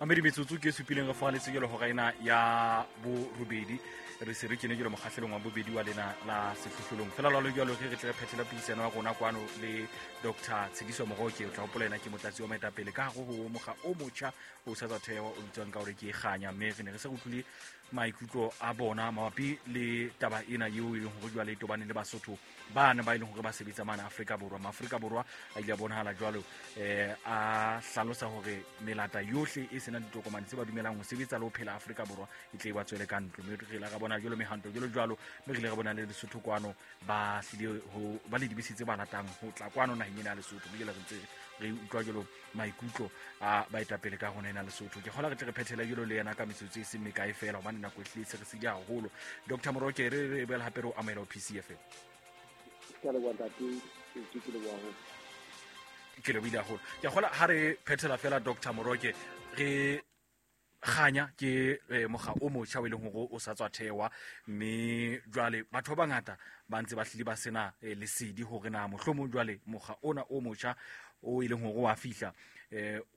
Mamedi, metsotso ke e supileng re fogaletse jalo hora ena ya borobedi. Re se re kene jalo mokgahlelong wa bobedi wa lena la sehlohlolong. Fela lwalo jalo ge re tle re phethela puisano ya rona kwano le Dr Tshediso Moroke. O tla hopola ena ke motlatsi wa moetapele ka hare ho mokga o motjha o sa tswa thewa, o bitswang ka hore ke Kganya. Mme re ne re se re utlwile maikutlo a bona mabapi le taba ena eo e leng hore jwale e tobane le Basotho bana ba e leng hore ba sebetsa mane Afrika Borwa. Maaforika Borwa a ile a bonahala jwalo a hlalosa hore melata yohle e senang ditokomane tse ba dumelang ho sebetsa le ho phela Afrika Borwa e tle e ba tswele ka ntlo. Mme re ile ra bona jwalo mehanto jwalo jwalo, mme re ile ra bona le Lesotho kwano ba hlile ho ba le dibese tse ba ratang ho tla kwano naheng ena ya Lesotho. Mme jwale re ntse re utlwa jwalo maikutlo a baetapele ka rona ena Lesotho. Ke kgola re tle re phethele jwalo le yena ka metsotso e seng mekae fela, hobane nako e hlile se re sile haholo. Dr Moroke, re re boela hape re o amohela ho PCFM. Ke a leboha ntate, ke leboha haholo. Ke lebohile haholo. Ke kgola ha re phethela fela Dr Moroke, re Kganya ke mokga o motjha o e leng hore o sa tswa thewa, mme jwale batho ba bangata ba ntse ba hlile ba sena lesedi hore na mohlomong jwale mokga ona o motjha o e leng hore wa fihla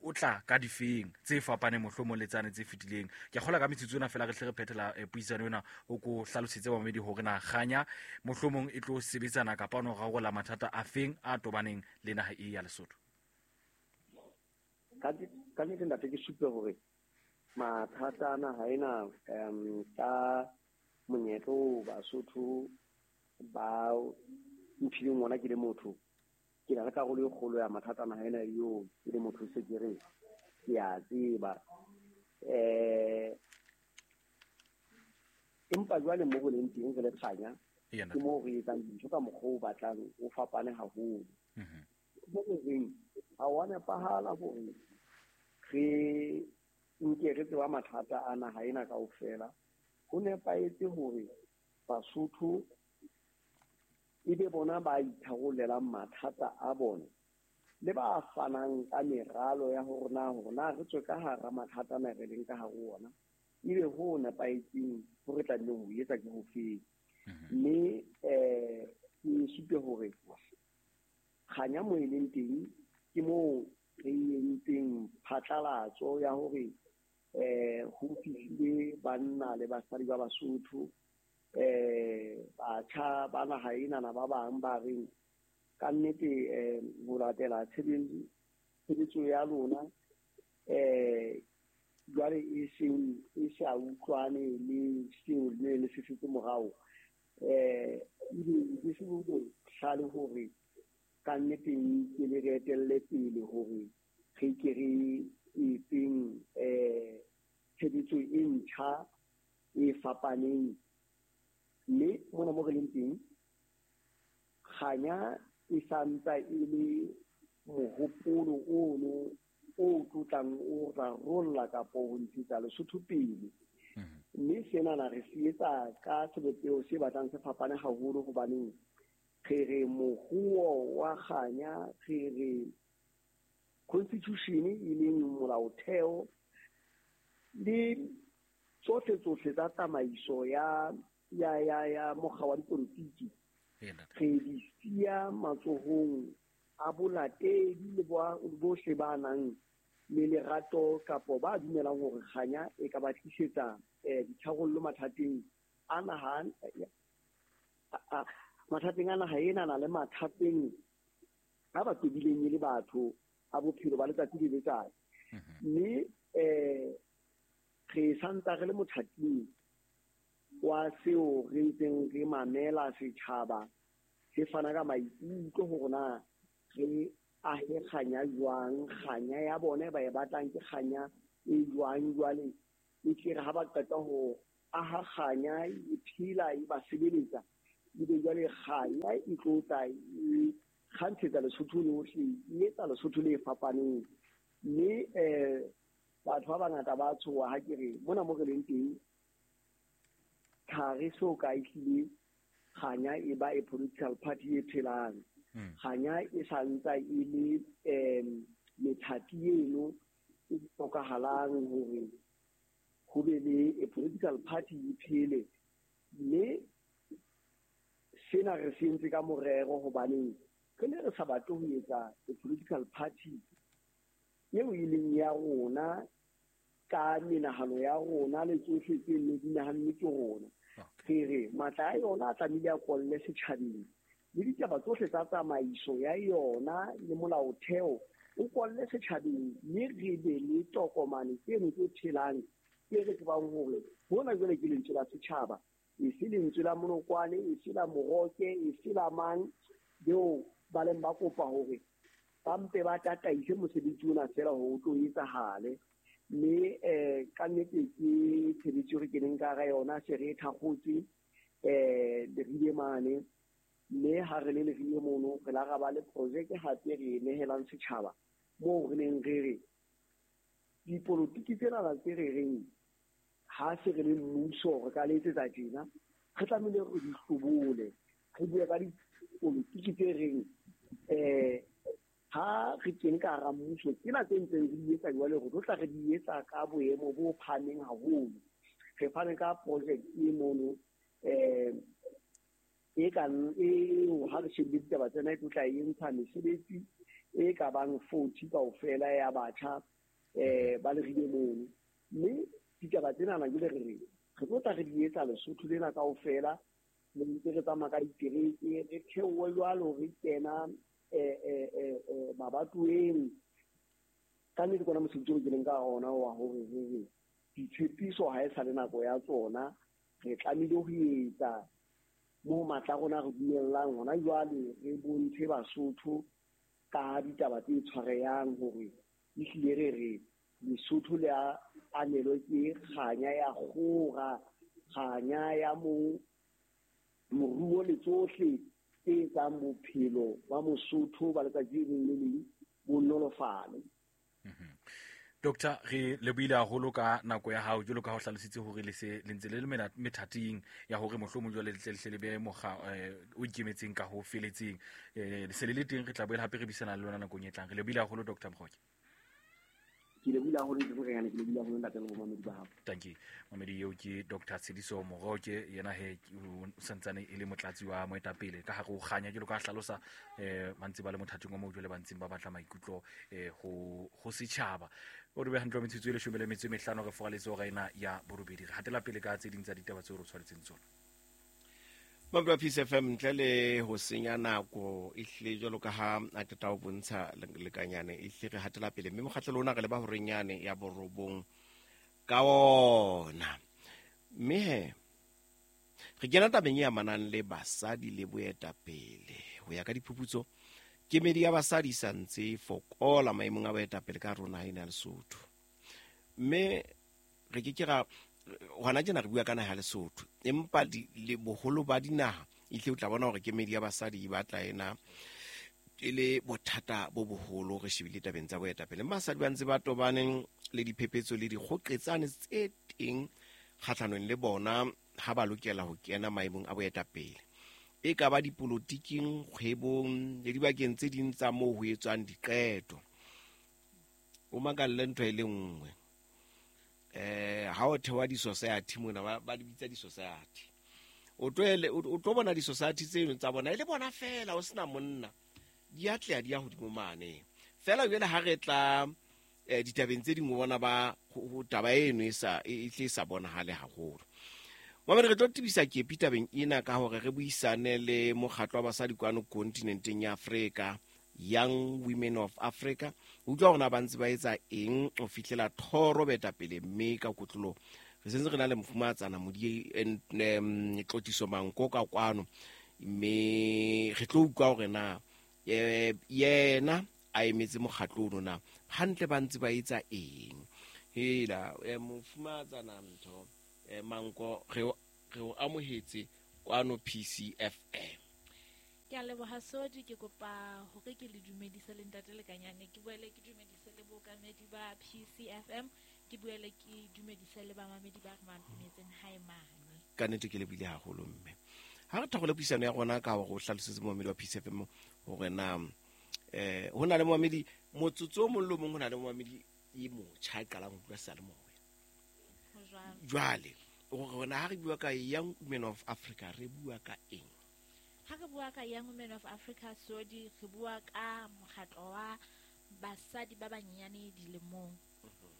o tla ka difeng tse fapaneng mohlomong le tsane tse fetileng. Ke kgola ka metsotso ena fela re hle re phethela puisano ena, o ko hlalosetse bamamedi hore na Kganya mohlomong e tlo sebetsana kapa ono rarolla mathata a feng a tobaneng le naha e ya Lesotho. Ka nnete ntate, ke supe hore mathata a naha ena ka monyetla oo Basotho ba mphileng ona ke le motho, ke na le karolo e kgolo ya mathata a naha ena eo ke le motho se ke re ke a tseba. Empa jwale mo re leng teng re le Kganya, ke moo re etsang dintho ka mokgwa o batlang o fapane haholo. Mo re reng ha wa nepahala hore re nke re tseba mathata a naha ena kaofela. Ho nepahetse hore Basotho e be bona ba itharollelang mathata a bona le ba fanang ka meralo ya hore na hore na re tswe ka hara mathata ana re leng ka hare ho ona, ebe ho nepahetseng ho re tlamehileng ho etsa ke ho feng. Mme ke supe hore Kganya mo e leng teng ke moo re entseng phatlalatso ya hore ho fihlile banna le basadi ba Basotho, batjha ba naha enana ba bang ba reng ka nnete ho latela tshebetso ya lona jwale e seng e sa utlwane le seo le ne le se setse morao, ebe ke se bohlale hore ka nnete ke le re etelle pele hore re ke re etseng tshebetso e ntjha e fapaneng. Mme mona mo re leng teng, Kganya e sa ntsa e le mohopolo ono o tlotlang o rarolla kapo ho ntshetsa Lesotho pele. Mme senana re se etsa ka sebopeho se batlang se fapane haholo, hobaneng re re mohuo wa Kganya, re re constitution e leng molaotheo le tsohle tsohle tsa tsamaiso ya ya ya ya mokga wa dipolotiki, re di siya matsohong a bolatedi le bohle ba nang le lerato kapo ba dumelang hore Kganya e ka ba tlisetsa ditharollo mathateng a naha, mathateng a naha ena na le mathateng a ba tobileng e le batho a bophelo ba letsatsi le letsatsi. Mme re santsa re le mothating wa seo re ntseng re mamela setjhaba se fana ka maikutlo hore na re ahe Kganya jwang, Kganya ya bona ba e batlang ke Kganya e jwang. Jwale e tle re ha ba qeta ho aha Kganya e phela e ba sebeletsa, ebe jwale Kganya e tlo tla e kgantshetsa Lesotho lohle, e etsa Lesotho le fapaneng. Mme batho ba bangata ba tshoha ha ke re mona mo re leng teng ha re so ka ehlile Kganya e ba e political party e phelang. Kganya e sa ntsa e le methati eno e hlokahalang hore ho be le a political party e phele. Mme sena re se entse ka morero, hobaneng re ne re sa batle ho etsa a political party eo e leng ya rona. ka menahano ya rona le tsohle tse nne di nahanne ke rona. Re re matla a yona a tlamehile a kolle setjhabeng, le ditaba tsohle tsa tsamaiso ya yona le molaotheo o kolle setjhabeng, mme re be le tokomane tseno tse phelang tse re tsebang hore hona jwale ke lentswe la setjhaba, e se lentswe la Monokwane, e se la Moroke, e se la mang beo ba leng ba kopa hore ba mpe ba tataise mosebetsi ona feela hore o tlo etsahale. Mme ka nnete ke tshebetso re keneng ka hara yona, se re e thakgotse Leribe mane, mme ha re le Leribe mono re la ra ba le projeke hape re e nehelang setjhaba, moo re neng re re dipolotiki tsenana tse re reng ha se re le mmuso re ka le etsetsa tjena, re tlamehile re di hlobole, re bue ka dipolotiki tse reng ha re kene ka hara mmuso tsena tse ntseng re di etsa jwale re tlo tla re di etsa ka boemo bo phahameng haholo. Re fane ka project e mono e kang eo ha re shebile ditaba tsena e tlo tla e ntsha mesebetsi e ka bang 40 kaofela ya batjha ba Leribe mono. Mme ditaba tsenana jwale re re re tlo tla re di etsa Lesotho lena kaofela, re ntse re tsamaya ka ditereke, re theohe jwalo re kena mabatoweng. Ka nnete ke ona mosebetsi o keneng ka ona wa hore re re ditshepiso ha e sa le nako ya tsona, re tlamehile ho etsa moo matla a rona re dumellang hona jwale, re bontshe Basotho ka ditaba tse tshwarehang hore ehlile re re Lesotho le a anelwe ke kganya ya kgora, kganya ya moruo le tsohle tse etsang bophelo ba Mosotho ba letsatsi le leng le leng bo nolofale. Doctor, re lebohile haholo ka nako ya hao, jwalo ka ha o hlalositse hore le se le ntse le le methating ya hore mohlomong jwale le tle le hle le be mokga o ikemetseng ka ho feletseng. Le se le le teng, re tla boela hape re buisana le lona nakong e tlang. Re lebohile haholo, Dr. Moroke. Ke lebohile haholo, Ntate Morenyane, ke lebohile haholo ntate le bomamedi ba hao. Thank you. Mamedi eo ke Dr. Tshediso Moroke, yena he o santsane e le motlatsi wa moetapele ka hare ho Kganya, jwalo ka ha hlalosa ba ntse ba le mothating wa moo jwale ba ntseng ba batla maikutlo ho setjhaba. O re be hantle metsotso e 15 re foraletse hora ena ya borobedi. Re hatela pele ka tse ding tsa ditaba tseo re tshwanetseng tsona. Mabra Peace FM, ntle le ho senya nako ehlile jwalo ka ha a qeta ho bontsha lekanyane, ehlile re hatela pele mme mokgahlelo ona re leba horeng yane ya borobong ka ona. Mme he re kena tabeng e amanang le basadi le boetapele. Ho ya ka diphuputso, kemedi ya basadi sa ntse e fokola maemong a boetapele ka rona ena ya Lesotho. Mme re ke ke ra hona tjena re bua ka naha ya Lesotho, empa le boholo ba dinaha ehlile o tla bona hore kemedi ya basadi e batla ena e le bothata bo boholo re shebile tabeng tsa boetapele. Mme basadi ba ntse ba tobaneng le diphephetso le dikgoqetsane tse teng kgahlanong le bona ha ba lokela ho kena maemong a boetapele, e ka ba dipolotiking, kgwebong le dibakeng tse ding tsa moo ho etswang diqeto. O makalle ntho e le nngwe, ha o thewa di-society mona, ba di bitsa di-society, o tlo bona di-society tseno tsa bona e le bona fela, o sena monna, di atleha di ya hodimo mane fela. Jwale ha re tla ditabeng tse dingwe, bona ba ho taba eno e sa e tle e sa bonahale haholo. Mamedi, re tlo tebisa kepi tabeng ena ka hore re buisane le mokgatlo wa basadi kwano kontinenteng ya Afrika, Young Women of Africa. Utlwa hore na ba ntse ba etsa eng ho fihlela thoro boetapele, mme ka kotloloho re sentse re na le mofumahatsana Modi Tlotliso Manko ka kwano, mme re tlo utlwa hore na yena a emetse mokgatlo ono na hantle ba ntse ba etsa eng. Hela mofumahatsana ntho Manko, re o amohetse kwano PCFM. Ke a leboha Sodi, ke kopa hore ke le dumedise le ntate Lekanyane, ke boele ke dumedise le bookamedi ba PCFM, ke boele ke dumedise le bamamedi ba re mametseng hae mane. Ka nnete ke lebohile haholo mme. Ha re thakgole puisano ya rona ka hore o hlalosetse momamedi wa PCFM hore na ho na le momamedi motsotso o mong le o mong, ho na le momamedi e motjha a qalang ho utlwa seyalemoya. Jwale hore na ha re bua ka Young Women of Africa re bua ka eng? Ha re bua ka Young Women of Africa Sodi, re bua ka mokgatlo wa basadi ba banyenyane dilemong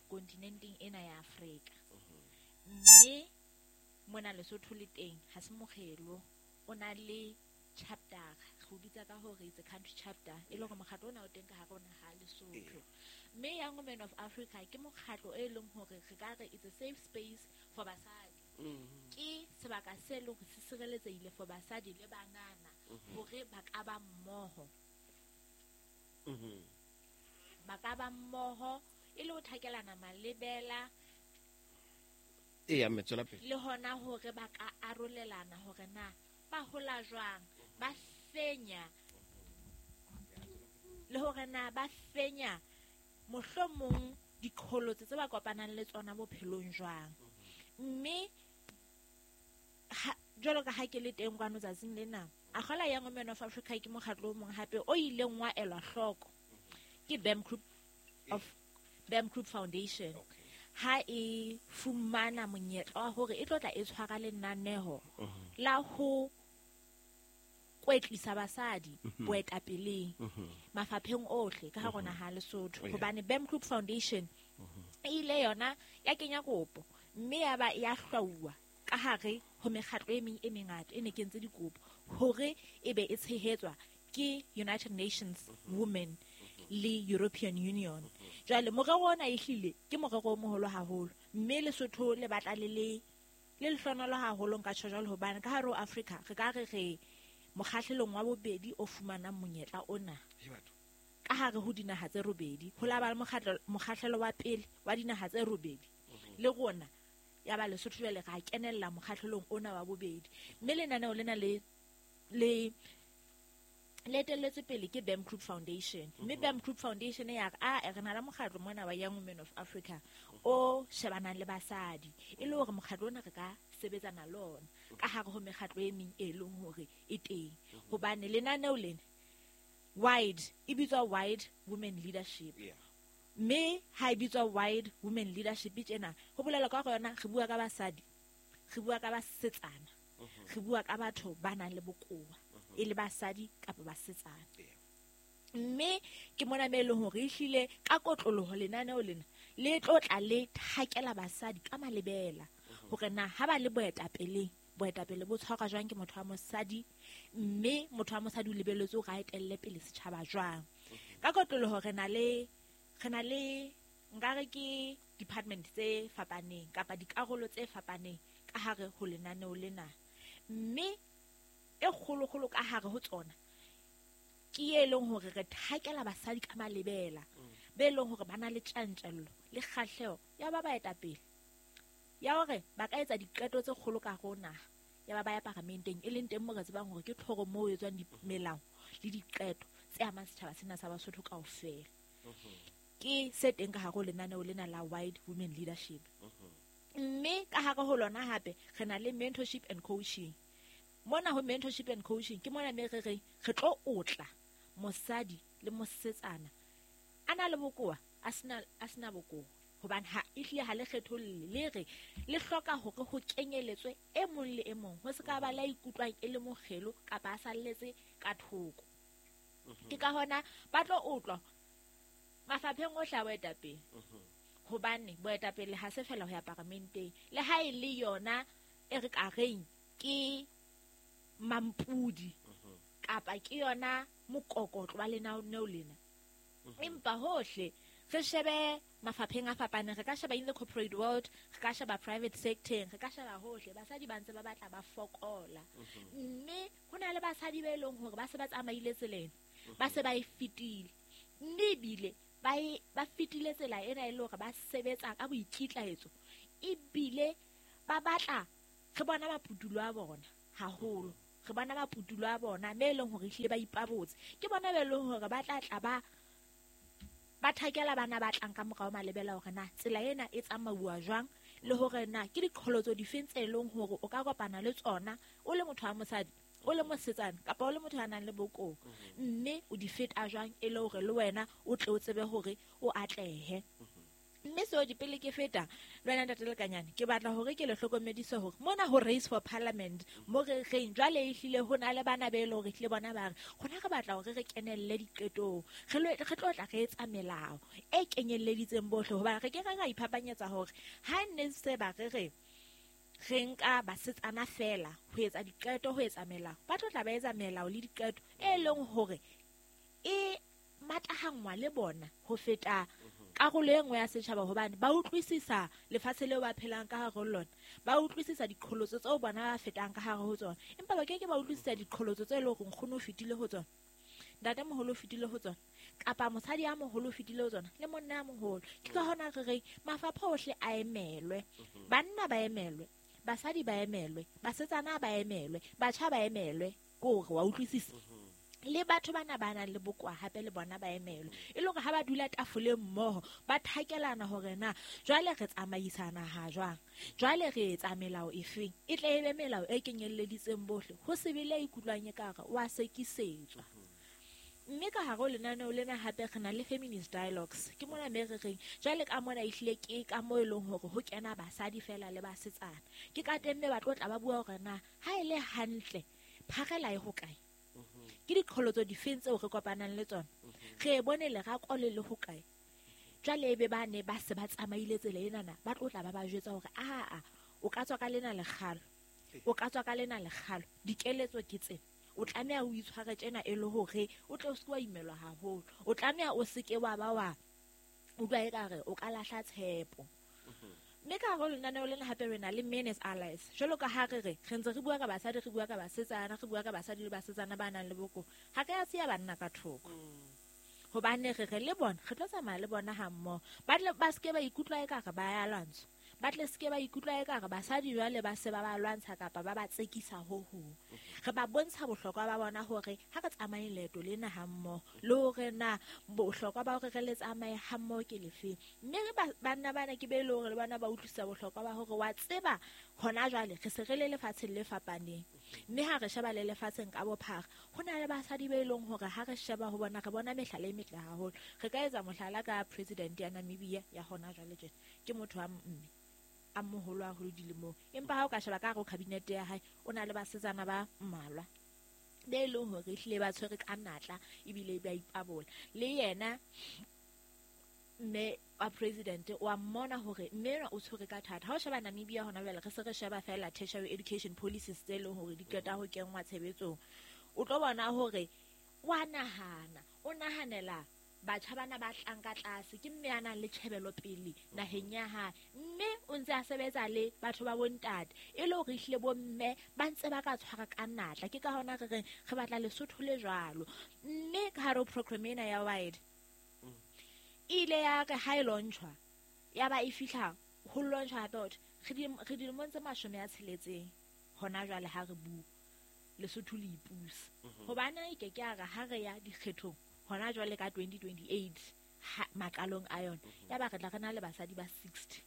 kontinenteng ena ya Afrika. Mme mona Lesotho le teng ha se mokgelo, o na le chapter, re o bitsa ka hore it's a country chapter, e le hore mokgatlo ona o teng ka hare ho naha ya Lesotho. Mme Young Women of Africa ke mokgatlo e leng hore re ka re it's a safe space for basadi. Ke sebaka se leng hore se sireletsehile for basadi le banana hore ba ka ba mmoho. Ba ka ba mmoho e le ho thakelana malebela. Eya, mme tswela pele. Le hona hore ba ka arolelana hore na ba hola jwang, ba fenya, le hore na ba fenya mohlomong diqholotso tse ba kopanang le tsona bophelong jwang. Mme jwalo ka ha ke le teng kwano tsatsing lena, Akgola Young Women of Africa ke mokgatlo o mong hape o ileng wa elwa hloko ke BAM Group of BAM Group Foundation. Ha e fumana monyetla wa hore e tlo tla e tshwara lenaneho la ho kwetlisa basadi boetapeleng mafapheng ohle ka hare ho naha ya Lesotho. Hobane BAM Group Foundation e ile yona ya kenya kopo mme ya ba ya hlwauwa ka hare ho mekgatlo e meng e mengata e ne kentse dikopo hore e be e tshehetswa ke United Nations Women le European Union. Jwale morero ona ehlile ke morero o moholo haholo, mme Lesotho le batla le le lehlohonolo haholo nka tjho jwalo, hobane ka hare ho Afrika re ka re re mokgahlelong wa bobedi o fumanang monyetla ona ka hare ho dinaha tse robedi. Ho la ba le mokgahlelo wa pele wa dinaha tse robedi le rona ya ba Lesotho jwale ra kenella mokgahlelong ona wa bobedi. Mme lenaneo lena le le etelletswe pele ke BAM Group Foundation. Mme BAM Group Foundation ya re a re na le mokgatlo mona wa Young Women of Africa o shebanang le basadi, e le hore mokgatlo ona re ka sebetsana le ona ka hare ho mekgatlo e meng e leng hore e teng. Hobane lenaneo lena wide e bitswa Wide Women Leadership. Mme ha e bitswa Wide Women Leadership tjena ho bolela ka hore yona re bua ka basadi, re bua ka basetsana, re bua ka batho ba nang le bokowa, e le basadi kapa basetsana. Mme ke mona me e leng hore ehlile ka kotloloho lenaneo lena le tlo tla le thakela basadi ka malebela hore na ha ba le boetapeleng, boetapele bo tshwarwa jwang ke motho wa mosadi, mme motho wa mosadi o lebelletswe hore a etelle pele setjhaba jwang. Ka kotloloho re na le nkare ke department tse fapaneng kapa dikarolo tse fapaneng ka hare ho lenaneo lena. Mme e kgolokgolo ka hare ho tsona ke e leng hore re thakela basadi ka malebela be leng hore ba na le tjantjello le kgahleho ya ba baetapele ya hore ba ka etsa diqeto tse kgolo ka hare ho naha, ya ba ba ya paramenteng, e leng teng moo re tsebang hore ke tlhoro moo ho etswang melao le diqeto tse amang setjhaba sena sa Basotho kaofela. Ke se teng ka hare ho lenaneo lena la Wide Women Leadership. Mme ka hare ho lona hape re na le mentorship and coaching. Mona ho mentorship and coaching ke mona me re reng re tlo otla mosadi le mosetsana a na le bokowa a sena bokowa, hobane ha ehlile ha le kgetholle, le re le hloka hore ho kenyeletswe e mong le e mong, ho se ka ba la ikutlwang e le mokgelo kapa a salletse ka thoko. Ke ka hona ba tlo otlwa mafapheng ohle a boetapele, hobane boetapele ha se fela ho ya paramenteng, le ha e le yona e re ka reng ke mampudi kapa ke yona mokokotlo wa lenaneo lena. Empa hohle re shebe mafapheng a fapaneng, re ka sheba in the corporate world, re ka sheba private sector, re ka sheba hohle, basadi ba ntse ba batla ba fokola. Mme ho na le basadi ba e leng hore ba se ba tsamaile tseleng, ba se ba e fetile, mme ebile ba fetile tsela ena e le hore ba sebetsa ka boikitlaetso, ebile ba batla re bona maputulo a bona haholo, re bona maputulo a bona me e leng hore ehlile ba ipabotse. Ke bona be leng hore ba tla tla ba thakela bana ba tlang ka morao malebela hore na tsela ena e tsamauwa jwang, le hore na ke diqholotso difeng tse leng hore o ka kopana le tsona o le motho wa mosadi, o le mosetsana kapa o le motho ya nang le bokowa, mme o di feta jwang e le hore le wena o tle o tsebe hore o atlehe. Mme Sodi, pele ke feta le wena ntate Lekanyane, ke batla hore ke le hlokomedise hore mona ho race for parliament mo re reng jwale ehlile ho na le bana be e le hore ehlile bona ba re rona re batla hore re kenelle diqetong, re tlo tla re etsa melao e kenyelleditseng bohle, hobane re ke re ra iphapanyetsa hore ha nne se ba re re re nka basetsana fela ho etsa diqeto, ho etsa melao, ba tlo tla ba etsa melao le diqeto e leng hore e matahangwa le bona ho feta karolo e nngwe ya setjhaba, hobane ba utlwisisa lefatshe leo ba phelang ka hare ho lona, ba utlwisisa diqholotso tseo bona ba fetang ka hare ho tsona, empa ba ke ke ba utlwisisa diqholotso tse leng hore nkgono o fetile ho tsona, ntate moholo o fetile ho tsona, kapa mosadi ya moholo o fetile ho tsona, le monna ya moholo. Ke ka hona re reng mafapha ohle a emelwe, banna ba emelwe, basadi ba emelwe, basetsana ba emelwe, batjha ba emelwe, ke hore wa utlwisisa. Le batho bana ba nang le bokowa hape le bona ba emelwe, e le hore ha ba dula tafoleng mmoho ba thakelana hore na jwale re tsamaisana ha jwang, jwale re etsa melao efeng, e tle e be melao e kenyelleditseng bohle, ho se be le ya ikutlwang ekare wa sekisetswa. Mme ka hare ho lenaneo lena hape re na le feminist dialogues, ke mona me re reng jwale ka mona ehlile ke ka moo e leng hore ho kena basadi fela le basetsana, ke ka teng mme ba tlo tla ba bua hore na ha e le hantle pharela e hokae, ke diqholotso difeng tseo re kopanang le tsona, re bone lerako le le hokae. Jwale ebe ba ne ba se ba tsamaile tsela enana, ba tlo tla ba ba jwetsa hore aa o ka tswa ka lena lekgalo, o ka tswa ka lena lekgalo, dikeletso ke tsena, o tlameha o itshware tjena e le hore o tle o se ke wa imelwa haholo, o tlameha o se ke wa ba wa utlwa ekare o ka lahla tshepo. Mme ka hare ho lenaneo lena hape re na le men as allies, jwalo ka ha re re re ntse re bua ka basadi, re bua ka basetsana, re bua ka basadi le basetsana ba nang le bokowa, ha re a siya banna ka thoko, hobane re re le bona re tlo tsamaya le bona ha mmoho, ba tle ba se ke ba ikutlwa ekare ba ya lwantsha, ba tle se ke ba ikutlwa ekare basadi jwale ba se ba ba lwantsha kapa ba ba tsekisa ho hong. Re ba bontsha bohlokwa ba bona hore ha re tsamaye leeto lena ha mmoho, le hore na bohlokwa ba hore re le tsamaye ha mmoho ke lefeng. Mme re banna bana ke be e le hore le bona ba utlwisisa bohlokwa ba hore wa tseba hona jwale re se re le lefatsheng le fapaneng, mme ha re sheba le lefatsheng ka bophara ho na le basadi be e leng hore ha re sheba ho bona re bona mehlala e metle haholo. Re ka etsa mohlala ka president ya Namibia ya hona jwale tjena, ke motho wa mme a moholo haholo dilemong, empa ha o ka sheba ka hare ho cabinet ya hae o na le basetsana ba mmalwa be e leng hore ehlile ba tshwere ka natla ebile ba ipabola. Le yena mme wa president wa mmona hore mme enwa o tshwere ka thata. Ha o sheba Namibia hona jwale re se re sheba fela tertiary education policies tse leng hore di qeta ho kenngwa tshebetsong, o tlo bona hore wa nahana, o nahanela batjha bana ba tlang ka tlase, ke mme a nang le tjhebelopele naheng ya hae, mme o ntse a sebetsa le batho ba bontate e le hore ehlile bomme ba ntse ba ka tshwara ka natla. Ke ka hona re reng re batla Lesotho le jwalo. Mme ka hare ho program ena ya wide e ile ya re ha e launchwa, ya ba e fihla ho launchwa hape hore re dilemong tse 60 hona jwale ha re bua Lesotho le ipusa, hobane e ke ke a re ha re ya dikgethong hona jwale ka 2028 maqalong a yona, ya ba re tla re na le basadi ba 60.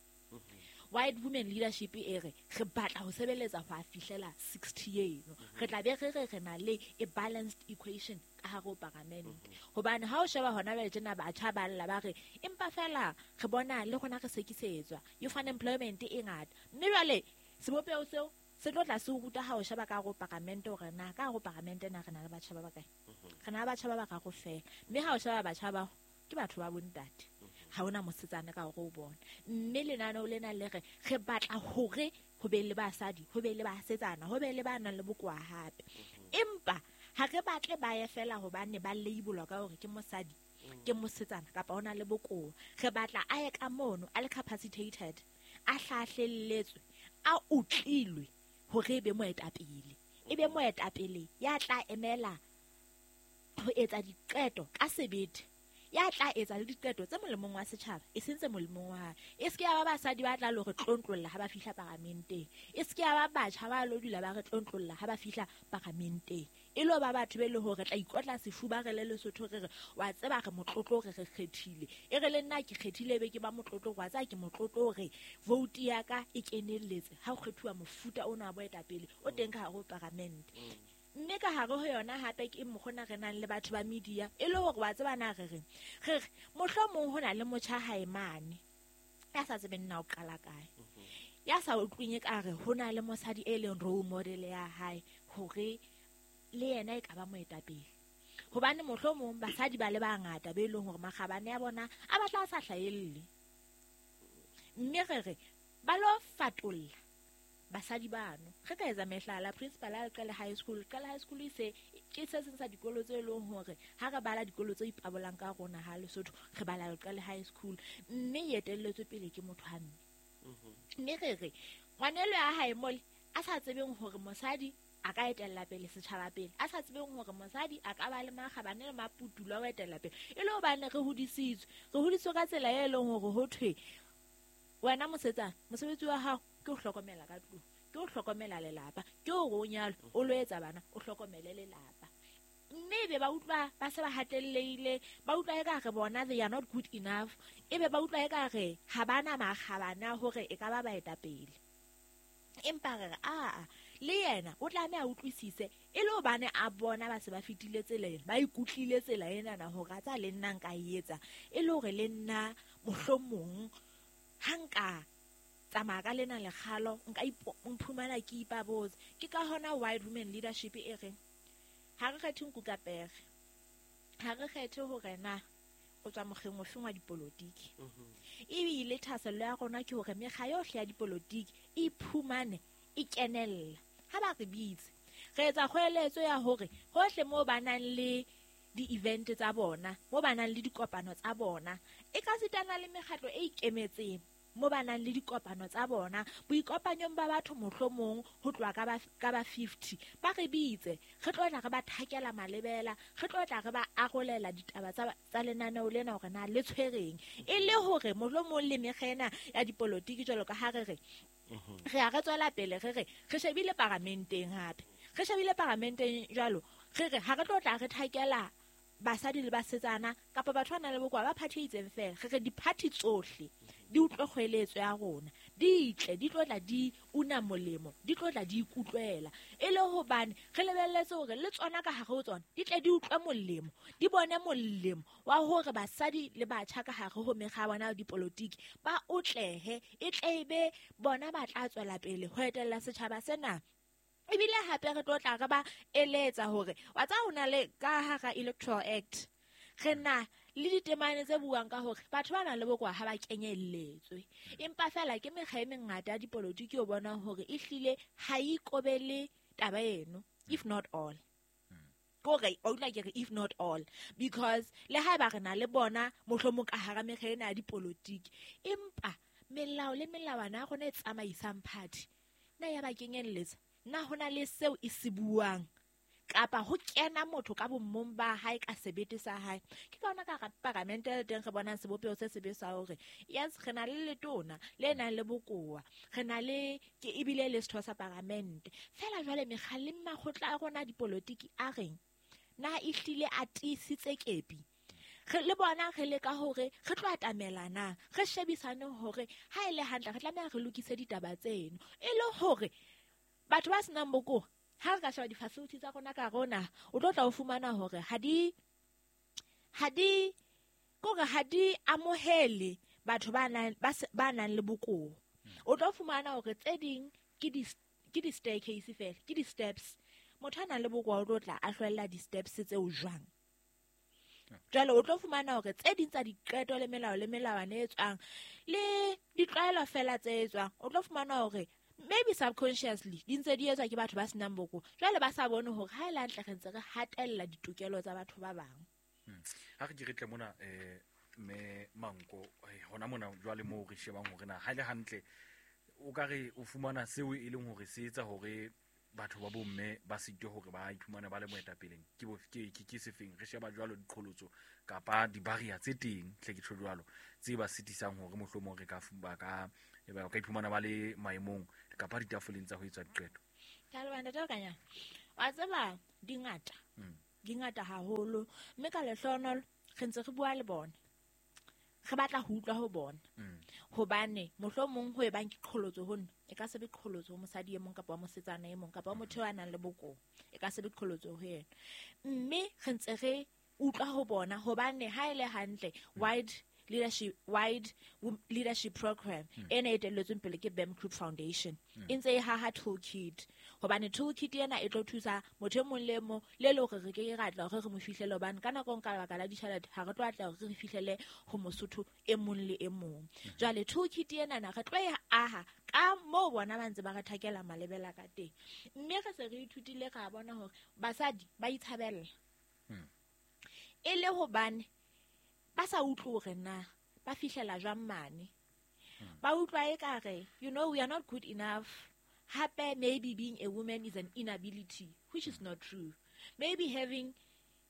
White women leadership e re re batla ho sebeletsa ho a fihlela 60 eno, re tla be re re re na le a balanced equation ka hare ho paramente. Hobane ha o sheba hona jwale tjena batjha ba lla ba re empa fela re bona le rona re sekisetswa, youth unemployment e ngata, mme jwale sebopeho seo se tlo tla se o ruta ha o sheba ka hare ho paramente hore na ka hare ho paramente na re na le batjha ba bakae, re na le batjha ba bararo fela, mme ha o sheba batjha bao ke batho ba bontate, ha hona mosetsana ka hore o bona. Mme lenaneo lena le re re batla hore ho be le basadi, ho be le basetsana, ho be le ba nang le bokowa hape, empa ha re batle ba ye fela hobane ba labelwa ka hore ke mosadi, ke mosetsana kapa o na le bokowa. Re batla a ye ka mono a le capacitated, a hlahlelletswe, a utlilwe hore e be moetapele, e be moetapele ya tla emela ho etsa diqeto ka sebete, ya tla etsa le diqeto tse molemong wa setjhaba, e seng tse molemong wa hae. E se ke ya ba basadi ba tla lo re tlontlolla ha ba fihla paramenteng, e se ke ya ba batjha ba lo dula ba re tlontlolla ha ba fihla paramenteng, e lo ba batho be le hore re tla ikotla sefuba re le Lesotho re re wa tseba re motlotlo re re kgethile, e re le nna ke kgethile be ke ba motlotlo, wa tseba ke motlotlo hore vote ya ka e kenelletse ha ho kgethuwa mofuta ona wa boetapele o teng ka hare ho paramente. Mme ka hare ho yona hape ke mokgona re nang le batho ba media, e le hore wa tseba na re reng, re re mohlomong ho na le motjha hae mane Ya sa tsebeng na o qala kae, ya sa utlweng ekare ho na le mosadi e leng role model ya hae hore le yena e ka ba moetapele. Hobane mohlomong basadi ba le bangata be leng hore makgabane a bona a batla a sa hlahelle, mme re re ba lo fatolla basadi bano. Re ka etsa mehlala, principal a Leqele High School. Leqele High School e se ke se seng sa dikolo tse leng hore ha re bala dikolo tse ipabolang ka rona ha Lesotho, re bala Leqele High School, mme e etelletswe pele ke motho wa mme. Mme re re ngwanelo ya hae mole a sa tsebeng hore mosadi a ka etella pele setjhaba pele, a sa tsebeng hore mosadi a ka ba le makgabane le maputulo a ho etella pele, e le hobane re hodisitswe ka tsela e leng hore ho thwe wena mosetsana mosebetsi wa hao ke ho hlokomela ka tlung, ke ho hlokomela lelapa, ke hore o nyalwe, o lo etsa bana, o hlokomele lelapa. Mme ebe ba utlwa ba se ba hatellehile, ba utlwa ekare bona they are not good enough, ebe ba utlwa ekare ha bana makgabane a hore e ka ba baetapele. Empa re re aa, le yena o tlameha a utlwisise, e le hobane a bona ba se ba fetile tsela ena, ba ikutlwile tsela enana hore a tsa le nna nka e etsa, e le hore le nna mohlomong ha nka tsamaya ka lena lekgalo, nka mphumana ke ipabotse. Ke ka hona Wide Women Leadership e reng ha re kgethe nku ka pere, ha re kgethe hore na o tswa mokgeng ofeng wa dipolotiki. Ebile thahasello ya rona ke hore mekga yohle ya dipolotiki e iphumane e kenella. Ha ba re bitse, re etsa kgoeletso ya hore hohle moo ba nang le di-event tsa bona, moo ba nang le dikopano tsa bona, e ka sitana le mekgatlo e ikemetseng mo ba nang le dikopano tsa bona, boikopanyong ba batho mohlomong ho tloha ka ba 50, ba re bitse, re tlo tla re ba thakela malebela, re tlo tla re ba arolela ditaba tsa lenaneo lena hore na le tshwereng, e le hore mohlomong le mekga ena ya dipolotiki jwalo ka ha re re re a re tswela pele, re re re shebile paramenteng hape, re shebile paramenteng jwalo, re re ha re tlo tla re thakela basadi le basetsana kapa batho ba nang le bokowa ba party e itseng fela, re re di-party tsohle di utlwe kgoeletso ya rona, di tle, di tlo tla di una molemo, di tlo tla di ikutlwela, e le hobane re lebelletse hore le tsona ka hare ho tsona di tle di utlwe molemo, di bone molemo wa hore basadi le batjha ka hare ho mekga ya bona ya dipolotiki ba otlehe, e tle e be bona ba tla tswela pele ho etella setjhaba sena. Ebile hape re tlo tla re ba eletsa hore wa tseba ho na le ka hara Electoral Act re na le ditemane tse buang ka hore batho ba nang le bokowa ha ba kenyelletswe, empa fela ke mekga e mengata ya dipolotiki o bonang hore ehlile ha e ikobele taba eno, if not all. Kore o utlwa ke re if not all, because le haeba re na le bona mohlomong ka hara mekga ena ya dipolotiki, empa melao le melawana ya rona e tsamaisang party na ya ba kenyelletsa, na ho na le seo e se buang kapa ho kena motho ka bommong ba hae ka sebete sa hae. Ke ka hona ka hara paramente le teng re bonang sebopeho se sebe sa hore yes, re na le letona le nang le bokowa, re na le ke ebile le setho sa paramente, fela jwale mekga le makgotla a rona a dipolotiki a reng na ehlile a tiisitse kepi. Re le bona re leka hore re tlo atamela na, re shebisane hore ha e le hantle re tlameha re lokise ditaba tseno, e le hore batho ba senang bokowa ha re ka sheba di-facility tsa rona ka rona, o tlo tla o fumana hore ha di kore ha di amohele batho ba nang le bokowa. O tlo fumana hore tse ding ke di-staircase fela, ke di-steps. Motho a nang le bokowa o tlo tla a hlwella di-steps tseo jwang? Jwale o tlo fumana hore tse ding tsa diqeto le melao le melawana e tswang le ditlwaelo fela tse etswang, o tlo fumana hore maybe subconsciously di ntse di etswa ke batho ba senang bokowa, jwale ba sa bone hore ha e le hantle re ntse re hatella ditokelo tsa batho ba bang. Ha re ke re tle mona mme Manko, hona mona jwale moo re shebang hore na ha e le hantle o ka re o fumana seo e leng hore se etsa hore batho ba bomme ba sitwe hore ba iphumane ba le moetapeleng ke sefeng? Re sheba jwalo diqholotso kapa di-barrier tse teng, hle ke tjho jwalo, tse ba sitisang hore mohlomong re ka ba ka iphumana ba le maemong kapa ditafoleng tsa ho etsa diqeto. Ke a leboha ntate Lekanyane. Wa tseba di ngata, di ngata haholo, mme ka lehlohonolo re ntse re bua le bona, re batla ho utlwa ho bona, hobane mohlomong ho e bang ke qholotso ho nna, e ka se be qholotso ho mosadi e mong kapa wa mosetsana e mong kapa wa motho a nang le bokowa, e ka se be qholotso ho yena. Mme re ntse re utlwa ho bona hobane ha e le hantle Wide leadership wide leadership program ena e etelletsweng pele ke BAM Group Foundation. E ntse e haha toolkit, hobane toolkit ena e tlo thusa motho e mong le mong le le hore re ke ke ra tla hore re mo fihlele, hobane ka nako nka lebaka la ditjhelete ha re tlo atla hore re fihlele ho Mosotho e mong le e mong. Jwale toolkit ena na re tlo e aha ka moo bona ba ntse ba re thakela malebela ka teng, mme re se re ithutile ra bona hore basadi ba itshabella e le hobane ba sa utlwe hore na ba fihlela jwang mane. Ba utlwa ekare, you know, we are not good enough. Hape maybe being a woman is an inability, which is not true. Maybe having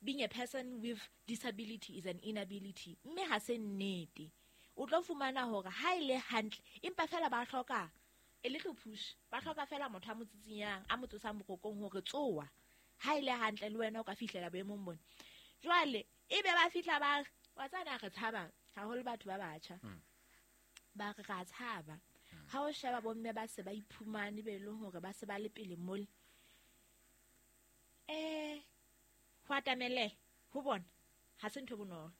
being a person with disability is an inability, mme ha se nnete. O tlo fumana hore ha e le hantle, empa fela ba hloka a little push, ba hloka fela motho a mo tsitsinyang, a mo tsosang borokong hore tsoa, ha e le hantle le wena o ka fihlela boemong bona. Jwale ebe ba fihla ba re, wa tsana re tshaba haholo batho ba batjha, ba re ra tshaba ha o sheba bomme ba se ba iphumane be leng hore ba se ba le pele mole, ho atamele ho bona ha se ntho bonolo,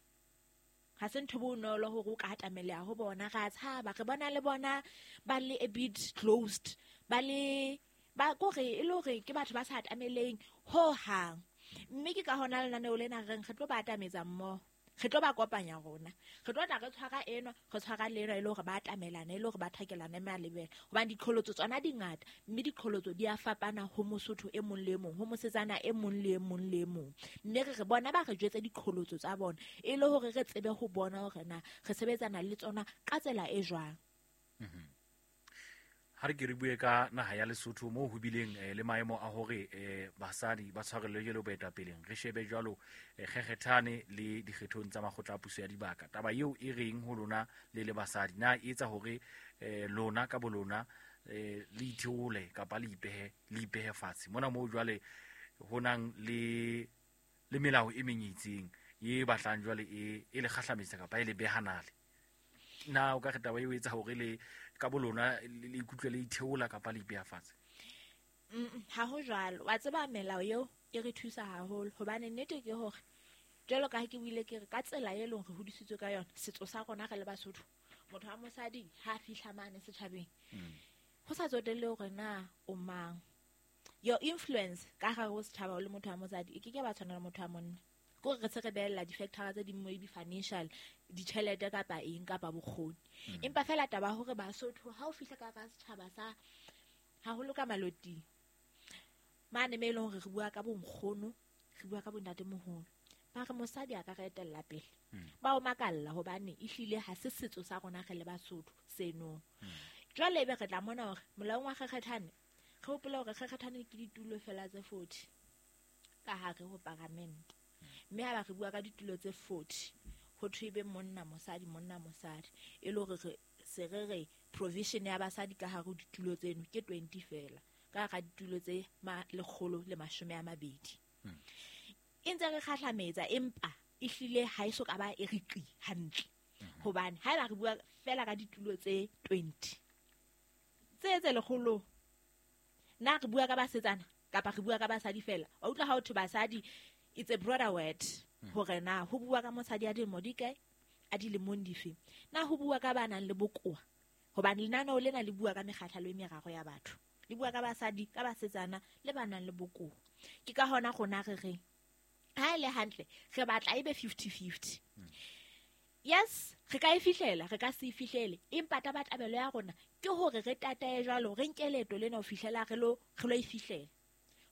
ha se ntho bonolo hore o ka atameleha ho bona. Ra tshaba, re bona le bona ba le a bit closed, ba le ba kore e le hore ke batho ba sa atameleng ho hang. Mme ke ka hona lenaneo lena re reng re tlo ba atametsa mmoho, re tlo ba kopanya rona, re tlo tla re tshwara enwa, re tshwara le enwa, e le hore ba atamelana, e le hore ba thakelana malebela. Hobane diqholotso tsona di ngata, mme diqholotso di a fapana ho Mosotho e mong le e mong, ho mosetsana e mong le e mong le e mong. Mme re re bona ba re jwetse diqholotso tsa bona, e le hore re tsebe ho bona hore na re sebetsana le tsona ka tsela e jwang. Ha re ke re bue ka naha ya Lesotho moo ho bileng le maemo a hore basadi ba tshwarellwe jwalo boetapeleng, re shebe jwalo kgekgethane le dikgethong tsa makgotla a puso ya dibaka. Taba eo e reng ho lona le le basadi, na e etsa hore lona ka bolona le itheole kapa le ipehe fatshe mona moo jwale ho nang le melao e meng e itseng e batlang jwale e le kgahlametsa kapa e le behanale? Na o ka re taba eo e etsa hore le ka bolona le ikutlwe le itheola kapa le ipeha fatshe? Ha ho jwalo. Wa tseba melao eo e re thusa haholo, hobane nnete ke hore jwalo ka ha ke buile ke re ka tsela e leng re hodisitswe ka yona, setso sa rona re le Basotho, motho wa mosadi ha fihla mane setjhabeng, ho sa tsotelle hore na o mang, your influence ka hare ho setjhaba o le motho wa mosadi e ke ke ba tshwana le motho wa monna. Ko re se re behella di-factor tse ding maybe financial, ditjhelete kapa eng kapa bokgoni. Empa fela taba hore Basotho ha o fihla ka hara setjhaba sa haholo ka maloting mane me leng hore re bua ka bonkgono, re bua ka bontatemoholo, ba re mosadi a ka re etella pele, ba o makalla hobane ehlile ha se setso sa rona re le Basotho seno. Jwale ebe re tla mona hore molaong wa kgekgethane, re hopola hore kgekgethane ke ditulo fela tse 40 ka hare ho paramente, mme ha ba re bua ka ditulo tse 40 ho thwe be monna mosadi, monna mosadi, e le hore re se re re provision ya basadi ka hare ho ditulo tseno ke 20 fela ka hara ditulo tse 120. E ntse re kgahlametsa, empa ehlile ha e so ka ba e re qi hantle, hobane ha eba re bua fela ka ditulo tse 20 tse lekgolo, na re bua ka basetsana kapa re bua ka basadi fela? Wa utlwa ha ho thwe basadi, it's a broader word, hore na ho bua ka mosadi a dilemo di kae, a dilemong dife, na ho bua ka ba nang le bokowa, hobane lenaneo lena le bua ka mekgahlelo e meraro ya batho, le bua ka basadi, ka basetsana le ba nang le bokowa. Ke ka hona rona re reng ha e le hantle re batla ebe 50-50. Yes, re ka e fihlela, re ka se e fihlele, empa tabatabelo ya rona ke hore re tatae jwalo, re nke leeto lena ho fihlela re lo e fihlela,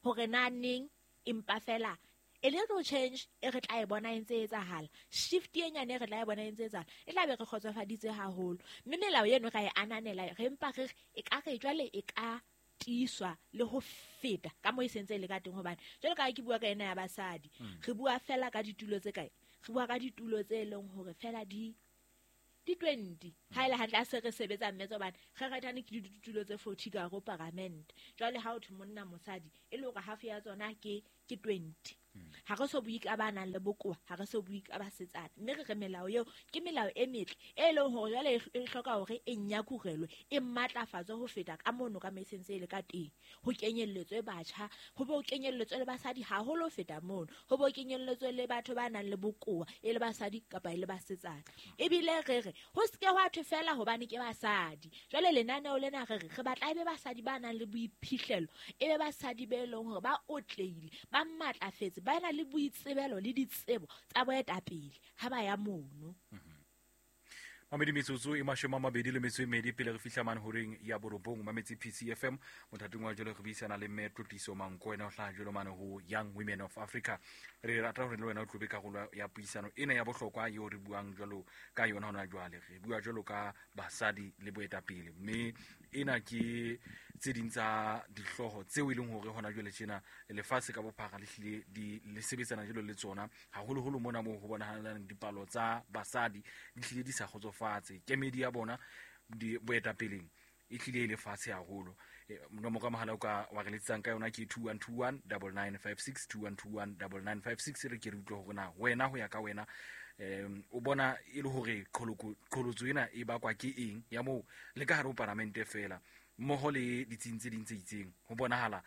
hore na neng, empa fela a little change e re tla e bona e ntse e etsahala, shift e nyane e re tla e bona e ntse e etsahala, e tla be re kgotsofaditse haholo. Mme melao eno ra e ananela, re mpa re e ka re jwale e ka tiiswa le ho feta ka moo e sentse e le ka teng, hobane jwalo ka ha ke bua ka ena ya basadi, re bua fela ka ditulo tse kae, re bua ka ditulo tse leng hore fela di 20 ha ile hantle a se re sebetsa mme hobane kgekgethane ke ditulo tse 40 ka hare ho paramente. Jwale ha o thwe monna mosadi, e le hore half ya tsona ke ke 20. Ha re so bue ka ba nang le bokowa, ha re so bue ka basetsana. Mme re re melao eo ke melao e metle e leng hore jwale e hloka hore e nyakurelwe, e matlafatswe ho feta ka mono ka mesentse e le ka teng. Ho kenyelletswe batjha, ho bo kenyelletswe le basadi haholo ho feta mono, ho bo kenyelletswe le batho ba nang le bokowa, e le basadi kapa e le basetsana. Ebile re re ho se ke hwa thwe fela hobane ke basadi. Jwale lenaneo lena re re re batla ebe basadi ba nang le boiphihlelo, ebe basadi be leng hore ba otlehile, ba matlafetse, ba na le boitsebelo le ditsebo tsa boetapele ha ba ya mono. Mamedi metsotso e 22 pele re fihla mane horeng ya borobong. Mametse PCFM mothateng wa jwale re buisana le mme Tlotliso Mankoena o hlaha jwalo mane ho Young Women of Africa. Re rata hore le wena o tlobe karolo ya puisano ena ya bohlokwa eo re buang jwalo ka yona hona jwale. Re bua jwalo ka basadi le boetapele, mme ena ke tse ding tsa dihlooho tseo e leng hore hona jwale tjena lefatshe ka bophara le hlile di le sebetsana jwalo le tsona, haholoholo mona moo ho bonahalang dipalo tsa basadi di hlile di sa kgotsofatse. Kemedi ya bona di boetapeleng e hlile e le fatshe haholo. Nomoro ya mohala o ka wa re letsang ka yona ke 2121 9956, 2121 9956. Re ke re utlwe hore na wena ho ya ka wena o bona e le hore qholotso ena e bakwa ke eng ya moo le ka hare ho palamente fela mmoho le ditsing tse ding tse itseng. Ho bonahala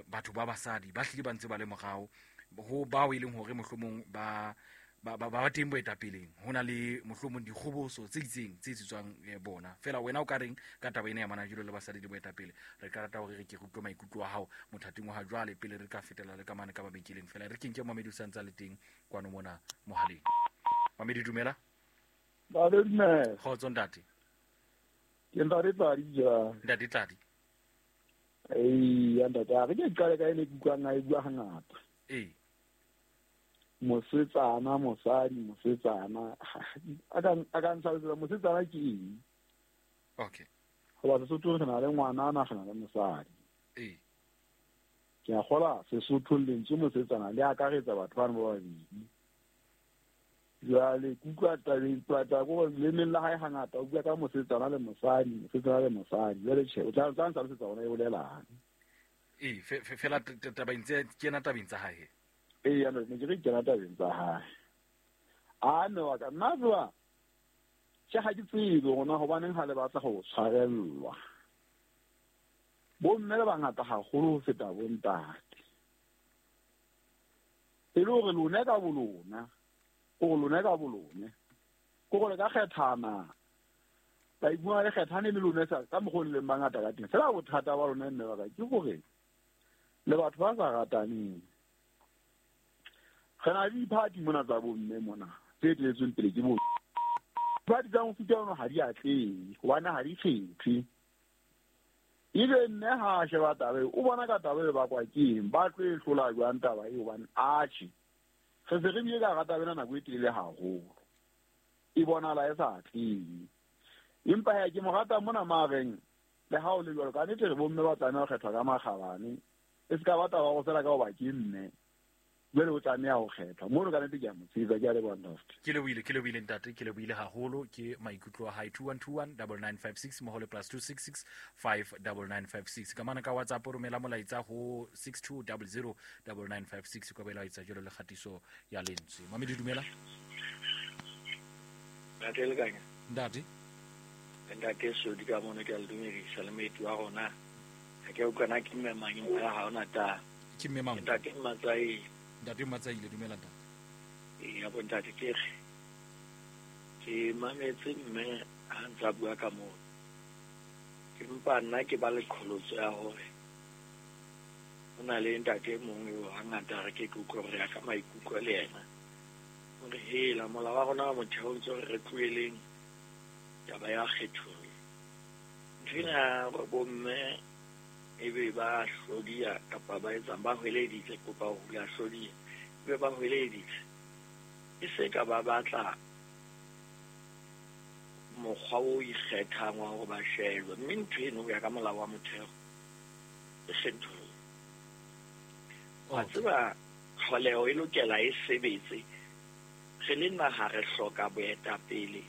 batho ba basadi ba hlile ba ntse ba le morao ho bao e leng hore mohlomong ba ba teng boetapeleng, ho na le mohlomong dikgoboso tse itseng tse etsetswang bona. Fela wena o ka reng ka taba ena ya mana jwalo le basadi le boetapele? Re ka rata hore re ke re utlwe maikutlo a hao mothating wa ha jwale pele re ka fetela le ka mane ka mabenkeleng. Fela re ke nke Mamedi o sa ntse a le teng kwano mona mohaleng. Mamedi, dumela. Ba dumela. Kgotso ntate. Ke ntate Tladi jwang? Ntate Tladi. Ee, ntate, a re ke qale ka ene ke utlwang a e bua hangata. Ee. Mosetsana, mosadi, mosetsana. A ka ntlhalosetsa mosetsana ke eng? Okay. Hoba Sesothong re na le ngwanana, re na le mosadi. Ee. Ke a kgola Sesothong lentswe mosetsana le akaretsa batho bana ba babedi. Jwale ke utlwa tabeng ko lemeng la hae hangata o bua ka mosetsana le mosadi, mosetsana le mosadi. Jwale tjhe, o tla ntlhalosetsa hore e bolelang. Ee, fela tabeng tse kena tabeng tsa hae. Ee, ya ne ke re kena tabeng tsa hae. A mme wa ka nna jwa tjhe, ha ke tsebe rona hobaneng ha le batla ho tshwarellwa. Bomme le bangata haholo ho feta bontate. E le hore lona ka bolona, o lona ka bolone, ko gore ka kgethana, ba ibua le kgethane le lona sa ka mokgwa o leng bangata ka teng. Fela bothata ba lona mme ba ka ke hore le batho ba sa rataneng. Re na le diphathi mona tsa bomme mona tse eteletsweng pele ke bo diphathi tsa mofuta ono ha di atlehe hobane ha di kgethwe. Ebe mme ha a sheba taba eo, o bona ka taba e bakwa ke eng, ba tlo e hlola jwang taba eo, hobane atjhe re se re bile ka hara taba ena nako e telele haholo, e bonahala e sa atlehe. Empa he ke mo rata mona mareng le ha o le jwalo, ka nnete re bomme ba tlameha ho kgethwa ka makgabane, e se ka ba taba go fela ka hoba ke mme jwale o tlameha ho kgethwa mono. Ka nnete ke a mo tshehetsa, ke a leboha ntate. Ke lebohile ntate, ke lebohile haholo. Ke maikutlo a hae. 2121 9956 mmoho le +266 59956. Ka mana ka WhatsApp o romela molaetsa ho 6200 9956 ka boela etsa jwalo le kgatiso ya lentswe. Mamedi, dumela. Ntate Lekanya. Ntate. Ntate Sodi ka mono ke a le dumedisa le moeti wa rona. Ha ke utlwa na ke mme mang empa ha hona taba. Ke mme mang? Ntate Mmatsaile. Ntate Mmatsaile, dumela ntate. Ee, ya bontate ke re ke mametse mme ha ntse a bua ka moo. Empa nna ke ba le qholotso ya hore ho na le ntate e mong eo hangata re ke ke utlwe hore ya ka maikutlo le yena. Hore hela molao wa rona wa motheo ntse re tloheleng taba ya kgethollo. Ntho ena hore bomme ebe ba hlodiya kapa ba etsang ba hweleditse, kopa ho hula hlodiya, ebe ba hweleditse, e se ka ba batla mokgwa o ikgethang wa hore ba shejwe. Mme ntho eno ho ya ka molao wa motheo e kgethollo. Wa tseba tlholeho e lokela e sebetse. Re le naha re hloka boetapele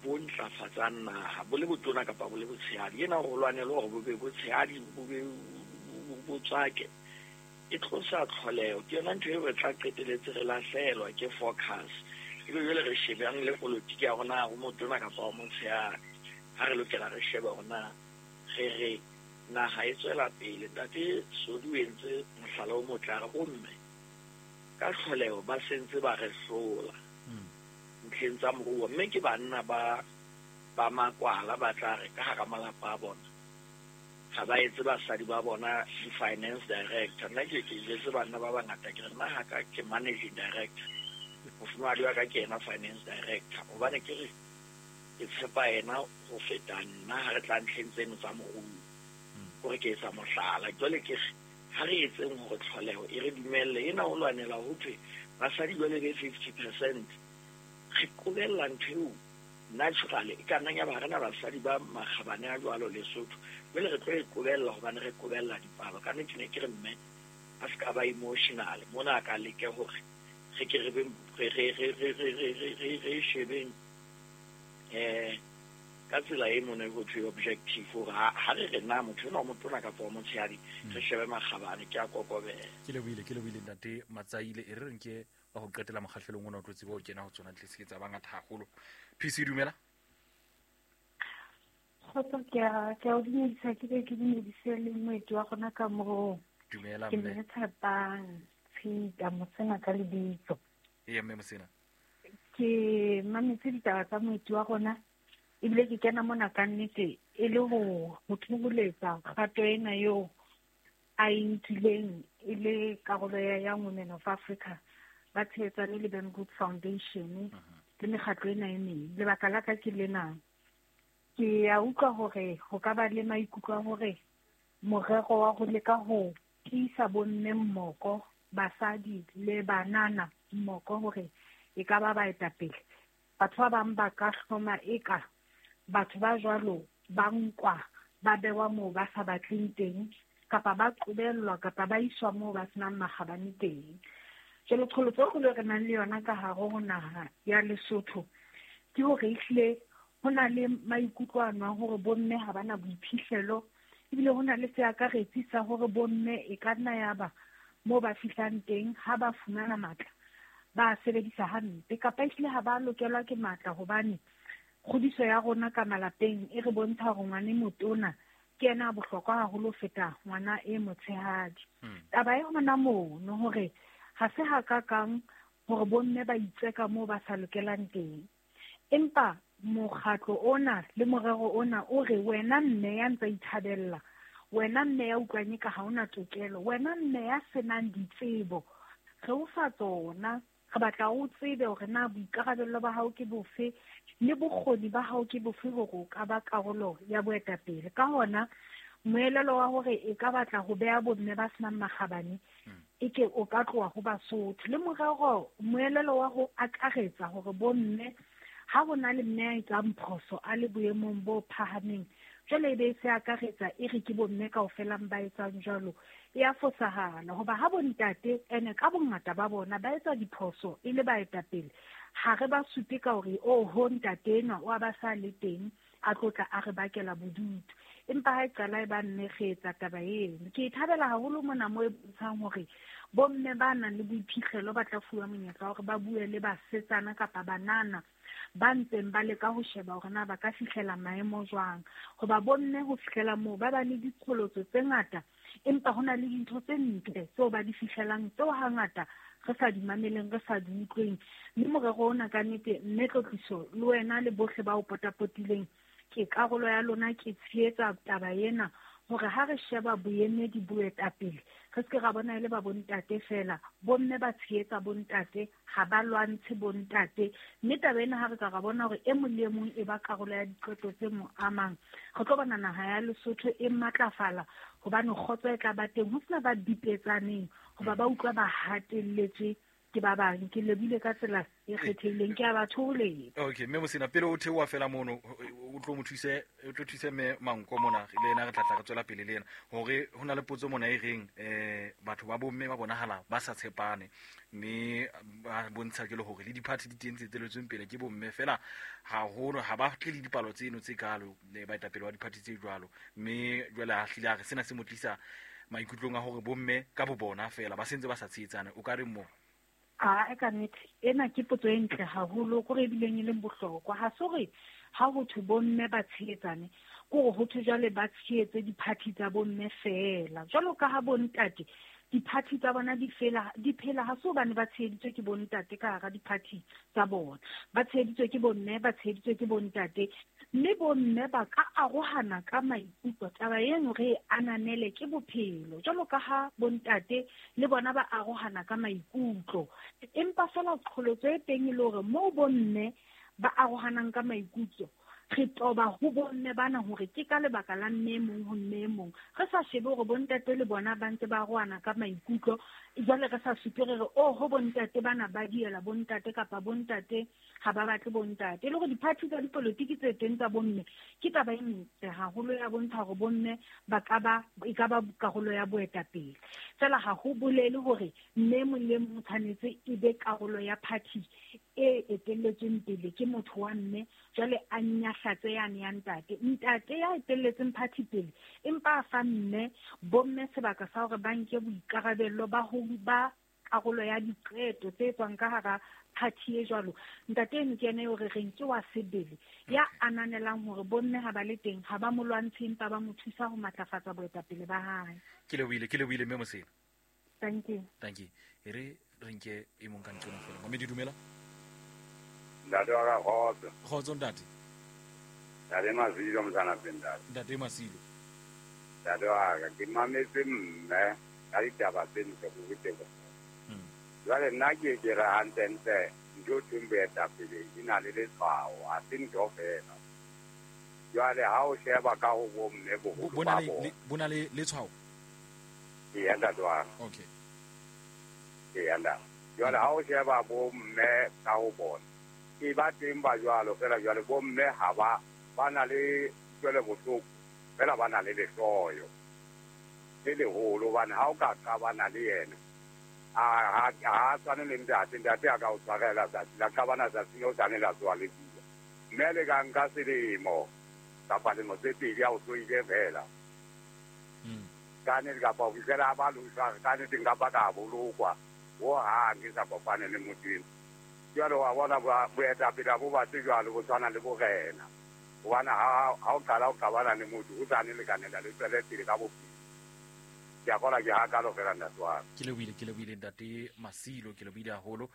bo ntlafatsang naha, bo le botona kapa bo le botshehadi. Ena ho lwanelwa hore bo be botshehadi, bo be bo tswake. E tlosa tlholeho, ke yona ntho eo re tla qeteletse re lahlehelwa ke focus. Ebe jwale re shebang le polotiki ya rona, ho motona kapa ho motshehadi, ha re lokela re shebe hore na re re naha e tswela pele. Ntate Sodi o entse mohlala o motle, a re bomme ka tlholeho ba sentse ba re hlola ntlheng tsa moruo, mme ke banna ba ba makwala ba tla re ka hara malapa a bona ga ba etse basadi ba bona di-finance director. Nna ke jwetse banna ba bangata, ke re nna ha ka ke managing director, mofumahadi wa ka ke yena finance director, hobane ke re ke tshepa yena ho feta nna ha re tla ntlheng tseno tsa moruo. Kore ke etsa mohlala. Jwale ke re ha re etseng hore tlholeho e re dumelle ena ho lwanela ho thwe basadi jwale be 50%, re qobella ntho eo naturally e ka nnang ya ba re na basadi ba makgabane a jwalo Lesotho, jwale re tlo e qobella hobane re qobella dipalo. Ka nnete ne ke re mme a se ka ba emotional mona, a ka leke hore re ke re beng re shebeng ka tsela e mone ho thwe objective, hore ha re re na motho enwa o motona kapa o motshehadi, re shebe makgabane. Ke a kokobela. Ke lebohile ntate Matsaile. E re nke wa ho qetela mokgahlelong ona o tlo tseba ho kena ho tsona ntle se ke tsa bangata haholo. PC, dumela. Kgotso, ke a o dumedisa, ke be ke dumedise le moeti wa rona ka moo. Dumela Ke mme. mme Tshepang Tshita Mosena ka lebitso. Ee mme Mosena. Ke mametse ditaba tsa moeti wa rona, ebile ke kena mona ka nnete e le ho thoholetsa kgato ena eo a e nkileng e le karolo ya Young Women of Africa, ba tshehetsane le Ben Good Foundation le mekgatlo ena e meng. Lebaka la ka ke lena, ke a utlwa hore ho ka ba le maikutlo a hore morero wa ho leka ho tiisa bomme mmoko, basadi le banana mmoko, hore e ka ba baetapele. Batho ba bang ba ka hloma eka batho ba jwalo ba nkwa ba bewa moo ba sa batleng teng, kapa ba qobellwa, kapa ba iswa moo ba senang makgabane teng. Jwale qholotso e kgolo e re nang le yona ka hare ho naha ya Lesotho ke hore ehlile ho na le maikutlo ano a hore bomme ha ba na boiphihlelo, ebile ho na le seakaretsi sa hore bomme e ka nna ya ba moo ba fihlang teng ha ba fumana matla ba sebedisa hampe, kapa ehlile ha ba lokelwa ke matla, hobane kgodiso ya rona ka malapeng e re bontsha hore ngwana e motona ke yena a bohlokwa haholo ho feta ngwana e motshehadi. Taba e hona mono hore ha se hakakang hore bomme ba itseka moo ba sa lokelang teng, empa mokgatlo ona le morero ona o re wena mme ya ntsa ithabella, wena mme ya utlwang eka ha ona tokelo, wena mme ya senang ditsebo, re o fa tsona, re batla o tsebe hore na boikarabello ba hao ke bofe le bokgoni ba hao ke bofe hore o ka ba karolo ya boetapele. Ka hona moelelo wa hore e ka batla ho beha bomme ba senang makgabane e ke o ka tloha ho Basotho, le morero moelelo wa ho akaretsa hore bomme ha ho na le mme a etsang phoso a le boemong bo phahameng, jwale e be e se akaretsa e re ke bomme kaofela ba etsang jwalo, e a fosahala. Hoba ha bontate ene ka bongata ba bona ba etsa diphoso e le baetapele, ha re ba supe ka hore oho ntate enwa o a ba sa le teng a tlotla a re bakela bodutu, empa ha e qala e ba mme re etsa taba eno. Ke e thabela haholo mona moo e bontshang hore bomme ba nang le boiphihlelo ba tla fuwa monyetla wa hore ba bue le basetsana kapa banana ba ntseng ba leka ho sheba hore na ba ka fihlela maemo jwang. Hoba bomme ho fihlela moo ba ba le diqholotso tse ngata, empa ho na le dintho tse ntle tseo ba di fihlelang tseo hangata re sa di mameleng, re sa di utlweng. Mme morero ona ka nnete, mme Tlotliso le wena le bohle ba o potapotileng, ke karolo ya lona, ke tshehetsa taba ena hore ha re sheba boemedi boetapele, re se ke ra bona e le ba bontate fela, bomme ba tshehetsa bontate, ha ba lwantshe bontate. Mme taba ena ha re ka ra bona hore e mong le e mong e ba karolo ya diqeto tse mo amang, re tlo bona naha ya Lesotho e matlafala, hobane kgotso e tla ba teng, ho sena ba bipetsaneng, hoba ba utlwa ba hatelletswe ke ba bang. Ke lebile ka tsela e kgethehileng, ke a ba thoholetsa. Okay, mme Mosina, pele o theoha fela mono, o tlo mo thuse, o tlo thuse mme Manko mona, le yena re tla tla re tswela pele le yena, hore ho na le potso mona e reng, batho ba bomme ba bonahala ba sa tshepane, mme ba bontsha ke le hore le di-party di teng tse eteletsweng pele ke bomme fela haholo, ha ba tle le dipalo tseno tse kalo, le baetapele ba di-party tse jwalo. Mme jwale a hlile a re sena se mo tlisa Maikutlong a hore bomme ka bo bona fela ba sentse ba sa tshehetsane, o ka re mo? A ka nnete ena ke potso e ntle haholo, kore ebileng e leng bohlokwa. Ha se hore ha ho thwe bomme ba tshehetsane, ke hore ho thwe jwale ba tshehetse di-party tsa bomme feela. Jwalo ka ha bontate di-party tsa bona di phela, ha se hobane ba tsheheditswe ke bontate ka hara di-party tsa bona. Ba tsheheditswe ke bomme, ba tsheheditswe ke bontate. Mme bomme ba ka arohana ka maikutlo. Taba eno re e ananele ke bophelo. Jwalo ka ha bontate le bona ba arohana ka maikutlo. Empa feela qholotso e teng e le hore moo bomme ba arohanang ka maikutlo, re toba ho bomme bana hore ke ka lebaka la mme mong ho mme mong. Re sa shebe hore bontate le bona ba ntse ba arohana ka maikutlo, jwale re sa supe re re, oh, ho bontate bana ba diela bontate kapa bontate ha ba batle bontate. E le hore di-party tsa dipolotiki tse teng tsa bomme ke taba e ntle haholo ya bontsha hore bomme ba ka ba, e ka ba karolo ya boetapele. Feela ha ho bolele hore mme mong le mong tshwanetse e be karolo ya party e etelletsweng pele ke motho wa mme, jwale a nyahlatse yane ya ntate. Ntate ya etelletseng party pele empa a fa mme bomme sebaka sa hore ba nke boikarabello ba ho ba karolo ya diqeto tse tswang ka hara party e jwalo. Ntate eno ke yena eo re reng ke wa sebele, ya ananelang hore bomme ha ba le teng ha ba mo lwantshe empa ba mo thusa ho matlafatsa boetapele ba hae. Ke lebohile mme Mosena. Thank you. Thank you. E re re nke e mong ka nqena fela. Mamedi, dumela. Ntate wa ka kgotso. Kgotso ntate. Ntate Masilo mosana ntate. Ntate Masilo. Ntate wa ka ke mametse mme ka ditaba tse ntle go rutego. Jwale nna ke ke re hantlentle ntho thweng boetapele e na le letshwao, ha se ntho fela. Jwale ha o sheba ka ho bomme boholo ba bona. Bona le letshwao? Eya ntate wa ka. Okay. Eya ntate. Jwale ha o sheba bomme ka ho bona, e ba teng ba jwalo fela jwale bomme ha ba na le kutlwelo bohloko fela ba na le lehloyo le leholo, hobane ha o ka qabana le yena a tshwane le ntate, ntate a ka o tshwarela tsatsi la qabana tsatsi leo tshwane la tsoha le bua. Mme le ka nka selemo kapa lemo tse pedi a o tsoile fela. Ka nnete kapa ho fihlela ba loswa, ka nnete nka ba ka bolokwa hohang ke sa kopane le motho eno. Jwale wa bona boetapele bo batle jwalo bo tshwana le borena. Hobane ha o qala o qabana le motho o sa ne lekanela le tswele pele ka bophelo. Ke a kgolwa ke hakalo fela ntate wa ka. Ke lebohile ntate Masilo, ke lebohile haholo.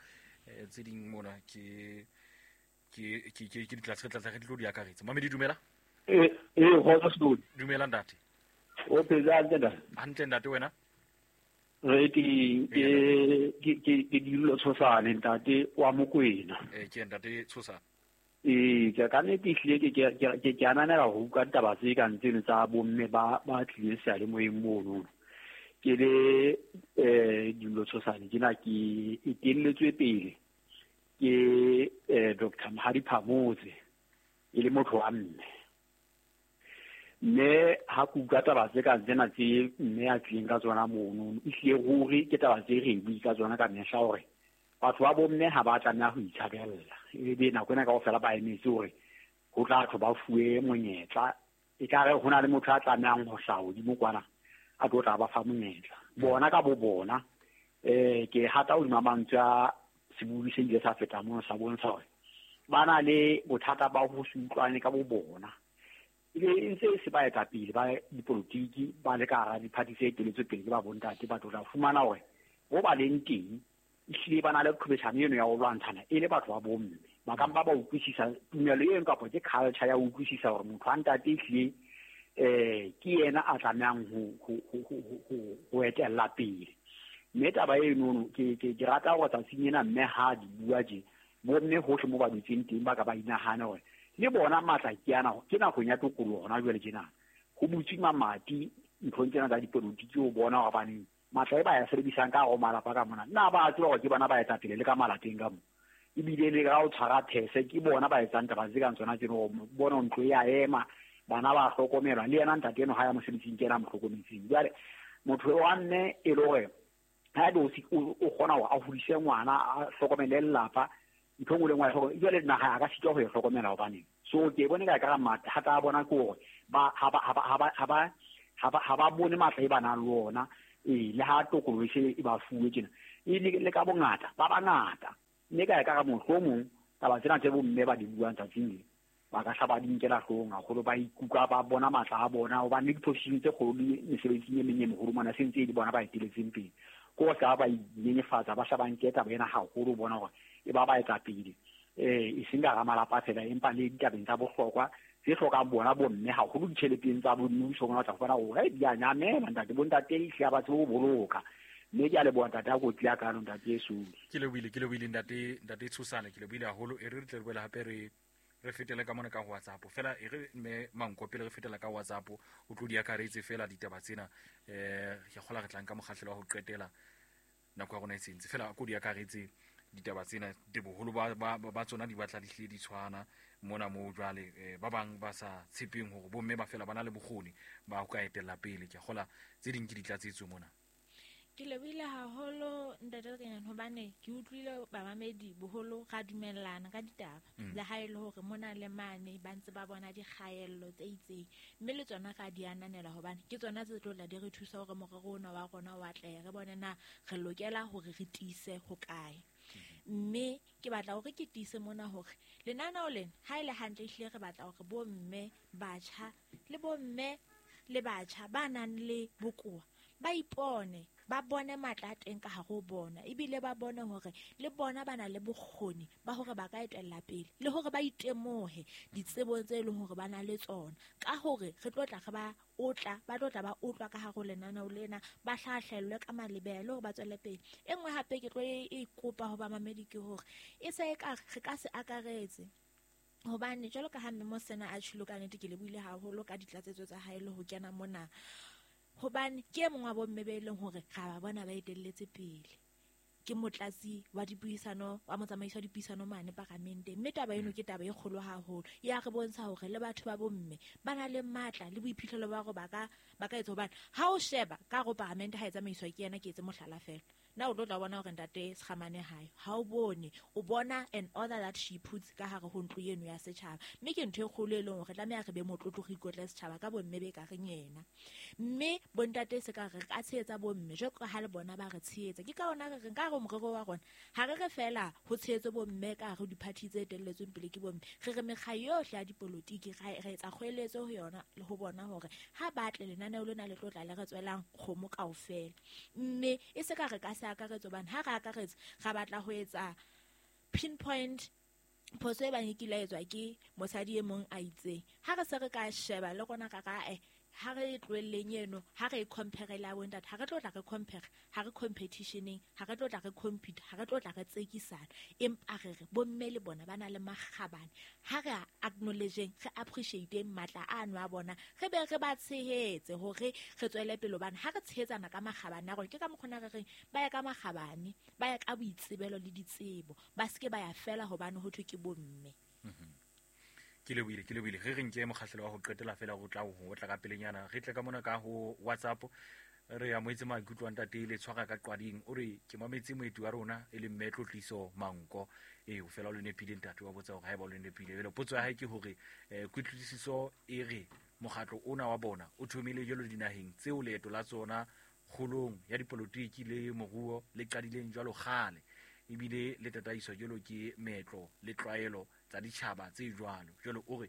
Tse ding mona ke ditlatse re tlo di akaretsa. Mamedi, dumela. Kgotso Sekodi. Dumela ntate. O phetse hantle ntate? Hantle ntate, wena? Re teng, ke Dillo Tshosane ntate wa Mokwena. Ke ntate Tshosane. Ke ka nnete ehlile ke ananela ho utlwa ditaba tse kang tseno tsa bomme ba tlileng seyalemoyeng mono. Ke le Dillo Tshosane ke na ke etelletswe pele ke Dr. Mohadi Phamotse e le motho wa mme. Mme ha ke utlwa taba tse kang tsena tse mme a tlileng ka tsona mono, ehlile ruri ke taba tse re bui ka tsona ka mehla hore batho ba bomme ha ba tlameha ho itshabella. Ebe nako ena kaofela ba emetse hore ho tla thwe ba fuwe monyetla. Ekare ho na le motho a tlamehang ho hlaha hodimo kwana a tlo tla ba fa monyetla. Bona ka bo bona, ke hata hodima mantswe a sebui se ile sa feta mono sa bontsha hore ba na le bothata ba ho se utlwane ka bo bona. Ebe e ntse e se baetapele ba dipolotiki ba le ka hara di-party tse eteletswe pele ke ba bontate, batho tla fumana hore bo ba leng teng ehlile ba na le qhobeshano eno ya ho lwantshana e le batho ba bomme. Ba ka mpa ba utlwisisa tumelo eno kapa ke culture ya ho utlwisisa hore motho wa ntate ehlile ke yena a tlamehang ho etella pele. Mme taba eno ke rata hore tsatsing ena mme ha di bua tje, bomme hohle mo ba dutseng teng ba ka ba inahane hore le bona matla ke ana, ke nakong ya tokoloho hona jwale tjena. Ho butswe mamati nthong tsena tsa dipolotiki ho bona hore baneng matla e ba ya sebedisang ka hare ho malapa ka mona, nna ba tseba hore ke bona ba etapele le ka malapeng ka mo. Ebile le ka ho tshwara these ke bona ba etsang taba tse kang tsona tseno, bona ntlo ya ema, bana ba hlokomelwa, le yena ntate eno ha ya mosebetsing ke yena a mo hlokometseng. Jwale motho wa mme e le hore ha ebe o kgona hore a hodise ngwana, a hlokomele lelapa, ntho engwe le engwe jwale naha a ka sitwa ho e hlokomela hobaneng. So ke bone ka ka mathata a bona ke hore ba ha Ha ba bone matla e ba nang le ona, le ha tokoloho e se e ba fuwe tjena, e le ka bongata, ba bangata. Mme ka ya ka mohlomong taba tsena tse bomme ba di buang tsatsing le, ba ka hla ba di nkela hloohong haholo, ba ikutlwa ba bona matla a bona, hobane le diposition tse kgolo le mesebetsing e meng e meholo mona se ntse e le bona ba eteletseng pele. Ke ho tla ba inyenyefatsa, ba hla ba nke taba ena haholo, bona hore e ba ba etsa pele, e seng ka hara malapa fela, empa le ditabeng tsa bohlokwa tse hlokang bona bomme haholo, ditjheleteng tsa mmuso mona o tla fumana hore di a nyamela ntate, bontate ehlile ha ba tsebe ho boloka. Mme ke a leboha ntate a kotsi ya kano ntate Sodi. Ke lebohile ntate Tshosane, ke lebohile haholo. E re tle re boele hape re fetele ka mona ka WhatsApp fela, e re mme Manko pele re fetela ka WhatsApp o tlo di akaretse fela ditaba tsena. Ke kgola re tlang ka mokgahlelo wa ho qetela, nako ya rona e sentse fela, ko di akaretse ditaba tsena de boholo ba tsona di batla di hlile di tshwana mona moo. Jwale ba bang ba sa tshepeng hore bomme ba fela ba na le bokgoni ba ho ka etella pele, ke kgola tse ding ke ditlatsetso mona. Ke lebohile haholo ntate Lekanyane, hobane ke utlwile bamamedi boholo ra dumellana ka ditaba, le ha e le hore mona le mane ba ntse ba bona dikgaello tse itseng, mme le tsona ra di ananela hobane ke tsona tse tlo tla di re thusa hore morero ona wa rona o atlehe, re bone na re lokela hore re tiise hokae. Mme ke batla hore ke tiise mona hore lenaneo lena ha e le hantle ehlile re batla hore bomme batjha le bomme le batjha ba nang le bokowa ba ipone, ba bone matla a teng ka hare ho bona, ebile ba bone hore le bona ba na le bokgoni ba hore ba ka etella pele, le hore ba itemohe ditsebong tse leng hore ba na le tsona, ka hore re tlo tla re ba otla, ba tlo tla ba otlwa ka hare ho lenaneo lena, ba hlahlellwe ka malebelo hore ba tswele pele. E nngwe hape ke tlo e kopa ho bamamedi ke hore e se e ka re ka se akaretse, hobane jwalo ka ha mme Mosena a tjhilo, ka nnete ke lebohile haholo ka ditlatsetso tsa hae le ho kena mona, hobane ke e mong wa bomme be leng hore ra ba bona ba etelletse pele, ke motlatsi wa dipuisano, wa motsamaisi wa dipuisano mane paramenteng. Mme taba eno ke taba e kgolo haholo, ya re bontsha hore le batho ba bomme ba na le matla le boiphihlelo ba hore ba ka etsa, hobane ha o sheba ka hare ho paramente ha e tsamaiswa ke yena, ke etse mohlala fela, na o tlo tla bona hore ntate Sekgamane hae ha o bone, o bona an order that she puts ka hare ho ntlo eno ya setjhaba. Mme ke ntho e kgolo e leng hore tlameha re be motlotlo, re ikotle setjhaba ka bomme be ka reng yena. Mme bontate se ka re ka tshehetsa bomme jwalo ka ha le bona ba re tshehetsa, ke ka hona re reng ka hare ho morero wa rona ha re re fela ho tshehetswe bomme ka hare ho di-party tse etelletsweng pele ke bomme, re re mekga yohle ya dipolotiki re etsa kgoeletso ho yona le ho bona hore ha ba tle lenaneo lena le tlo tla le re tswelang kgomo kaofela. Mme e se ka re ka se akaretse, hobane ha re akaretse ra batla ho etsa pinpoint phoso e bang e kile ya etswa ke mosadi e mong a itseng. Ha re se re ka sheba le rona ka ra ha re tlohelleng eno, ha re compare le bontate, ha re tlo tla re compare, ha re competitioneng, ha re tlo tla re compete, ha re tlo tla re tsekisana, empa re re bomme le bona ba na le makgabane, ha re acknowledgeng, re appreciateng matla ano a bona, re be re ba tshehetse hore re tswele pele, hobane ha re tshehetsana ka makgabane a rona, ke ka mokgona re reng ba ya ka makgabane, ba ya ka boitsebelo le ditsebo, ba seke ba ya fela hobane ho thwe ke bomme. Ke lebohile. Re re nke mokgahlelo wa ho qetela fela ho tla ho tla ka pelenyana, re tle ka mona ka ho WhatsApp. Re amohetse maikutlo a ntate le tshwara ka qwading, o re ke mametse moeti wa rona e leng mme Tlotliso Manko. O fela o le nepile ntate, wa botsa hore haeba o le nepile. Jwale potso ya hae ke hore kutlwisiso e re mokgatlo ona wa bona o thomile jwalo dinaheng tseo leeto la tsona kgolong ya dipolotiki le moruo le qadileng jwalo kgale, ebile le tataiswa jwalo ke meetlo le tlwaelo tsa ditjhaba tse jwalo. Jwalo o re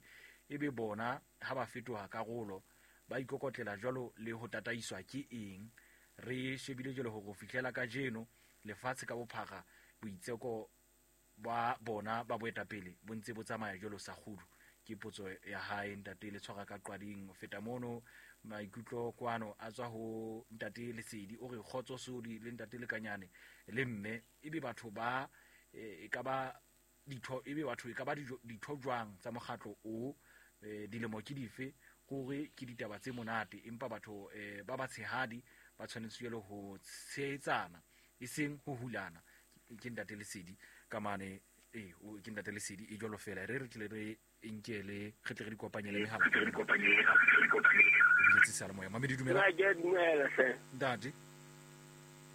ebe bona ha ba fetoha karolo ba ikokotlela jwalo le ho tataiswa ke eng? Re shebile jwalo hore ho fihlela kajeno lefatshe ka bophara boitseko ba bona ba boetapele bo ntse bo tsamaya jwalo sa kgudu. Ke potso ya hae ntate le tshwara ka qwading. Ho feta mono maikutlo kwano a tswa ho ntate Lesedi, o re kgotso Sodi le ntate Lekanyane le mme, ebe batho ba e ka ba ditho, ebe batho e ka ba ditho jwang tsa mokgatlo o, dilemo ke dife? Hore ke ditaba tse monate, empa batho ba batshehadi ba tshwanetse jwalo ho tshehetsana e seng ho hulana. Ke ntate Lesedi ka mane, ke ntate Lesedi e jwalo fela. Re tle re nkele re tle re dikopanye le mehala. Biletse seyalemoya. Mamedi, dumela. Nna ke a dumela hle. Ntate.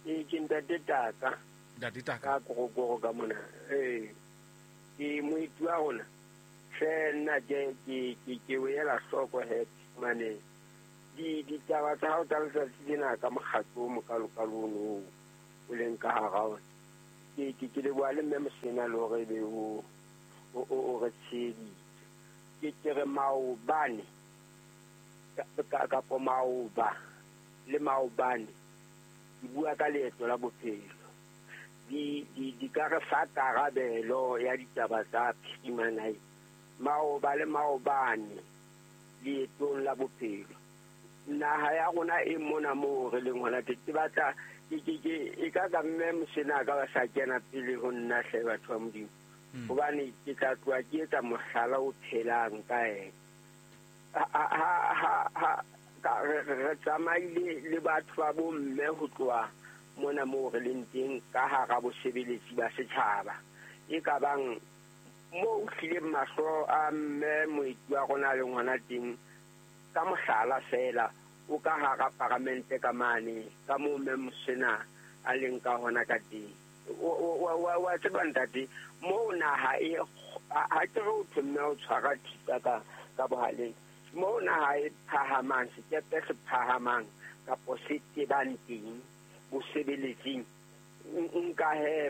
Ke ntate Taka. Ntate Taka. Ka korokoro ka mona. Ke moeti wa rona. Hle nna ke o ela hloko he mane. Ditaba tsa hao tsa letsatsi lena ka mokgatlo o mokalokalo ono o leng ka hara ona. Ke leboha le mme Mosena le hore ebe o re tsheheditse. Ke re maobane kapo maoba le maobane ke bua ka leeto la bophelo. Di ka re fa karabelo ya ditaba tsa phirimana maoba le maobane leetong la bophelo. Naha ya rona e mona moo re leng hona teng. Ke batla e ka ka mme Mosena ka ba sa kena pele ho nna hle batho ba Modimo. Hobane ke tla tloha ke etsa mohlala o phelang ka ena. Re tsamaile le batho ba bomme ho tloha mona moo re leng teng ka hara bosebeletsi ba setjhaba. E ka bang moo hlileng mahlo a mme moeti wa rona leng hona teng ka mohlala fela o ka hara paramente ka mane ka moo mme Mosena a leng ka hona ka teng. Wa tseba ntate moo naha e ha ke re o thwe mme o tshwara thipa ka bohaleng. Moo naha e phahamang, sekepe se phahamang kapo se tebang teng bosebeletsing. Nka he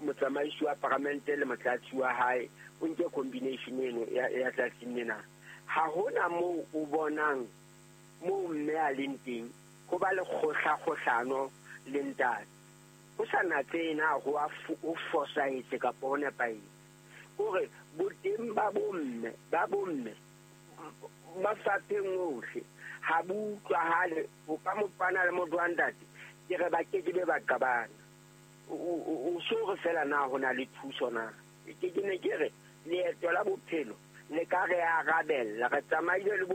motsamaisi wa paramente le motlatsi wa hae o nke combination eno ya tsatsing lena. Ha hona moo o bonang moo mme a leng teng ho ba le kgohlakgohlano le ntate. Ho sa natse na ho a ho fosahetse kapa ho nepahetse. Hore boteng ba bomme mafapheng ohle ha bo utlwahale ho ka mopana le motho wa ntate ke re ba ke ke be ba qabana. O so re fela na ho na le thuso na. Ke ne ke re leeto la bophelo le ka re arabella re tsamaile le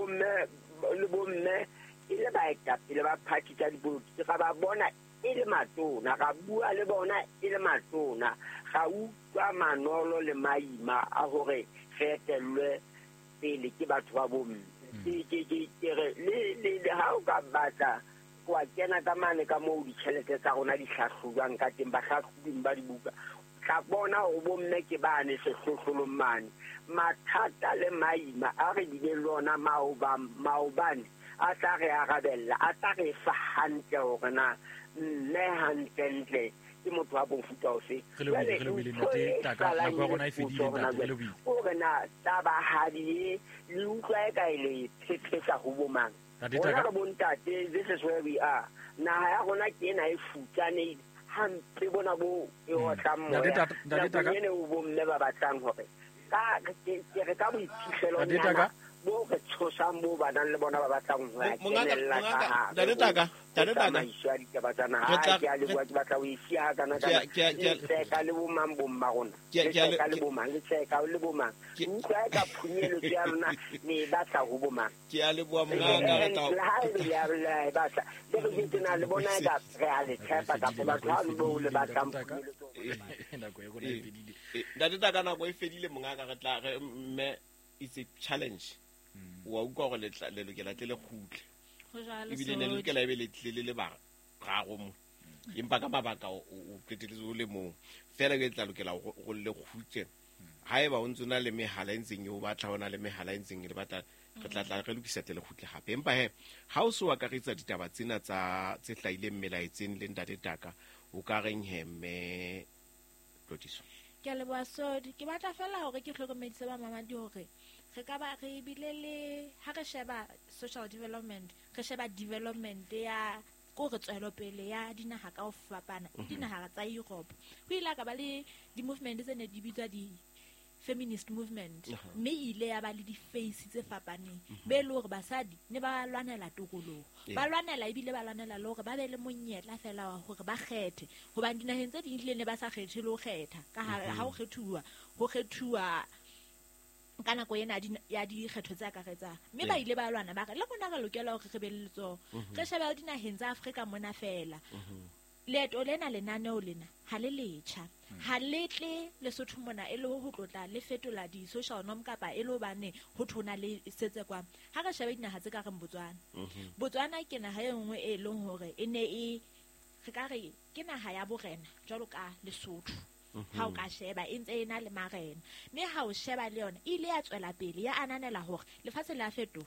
bomme e le baetapele ba party tsa dipolotiki ra ba bona e le matona, ra bua le bona e le matona, ra utlwa manolo le maima a hore re etellwe pele ke batho ba bomme. Ke re le ha o ka batla wa kena ka mane ka moo ditjhelete tsa rona di hlahlojwang ka teng, bahlahlobing ba dibuka tla bona hore bomme ke bane sehlohlolong mane. Mathata le maima a re bileng le ona maobane a tla re arabella, a tla re fa hantle hore na mme hantlentle ke motho wa mofuta ofe. Hore na tabahadi e le utlwa e ka e le phephetsa ho bomang. Rona re bontate, this is where we are. Naha ya rona ke ena e futsanehile hampe bona bo e otlang moya. Nakong ena o bomme ba batlang hore ka ke re ka boiphihlelonyana bo re tshosang bo ba nang le bona ba batlang ho ya kenella ka hare. Ntate Taka Tsamaiso ya ditaba tsa naha. Ke a leboha, ke batla ho e siya kana kana. Le tseka le bomang bomma rona. Le tseka le bomang, le tseka le bomang. Utlwa e ka phunyeletso ya lona le e batla ho bomang. Ke a leboha mongaka re tla Le ha e le e batla. Le re jwetse na le bona e ka re a le tshepa kapa batho ha le bo le batlang phunyeletso. Nako e rona e fedile. Ntate Taka nako e fedile mongaka re tla re mme it's a challenge. Wa utlwa hore le lokela tle le kgutle. Ebile ne le lokela ebe le tlile le le bararo mo. Empa ka mabaka o qetelletse o le mong. Feela ke tla lokela go le kgutle. Haeba o ntse na le mehala e ntseng e o batla, o na le mehala e ntseng e le batla, re tla re lokisa tle le kgutle hape. Empa he ha o se o akaretsa ditaba tsena tsa tse hlahileng melaetseng le Ntate Taka, o ka reng he mme Tlotliso? Ke a leboha Sodi. Ke batla fela hore ke hlokomedise ba mamadi hore re ka ba re bile le ha re sheba social development, re sheba development ya ko re tswelopele ya dinaha ka ho fapana, dinaha tsa Europe. Ho ile ka ba le di-movement tse ne di bitswa di feminist movement, mme ile ya ba le di-face tse fapaneng. Be le hore basadi ne ba lwanela tokoloho, ba lwanela ebile ba lwanela le hore ba be le monyetla fela wa hore ba kgethe, hobane dinaheng tse ding ehlile ne ba sa kgethe le ho kgetha. Ka ha ho kgethuwa, ho kgethuwa ka nako ena ya dikgetho tse akaretsang. Mme ba ile ba lwana ba re le rona re lokela hore re be le letsoho. Re shebe dinaheng tsa Afrika mona fela. Leeto lena lenaneo lena ha le letjha. Ha le tle Lesotho mona e le ho tlotla le fetola di-social norm kapa e le hobane ho thona le setse kwa. Ha re shebe dinaha tse ka reng Botswana. Botswana ke naha e nngwe e leng hore e ne e re ka re ke naha ya borena jwalo ka Lesotho. Ha o ka sheba e ntse e na le marena, mme ha o sheba le yona e ile ya tswela pele ya ananela hore lefatshe le a fetoha,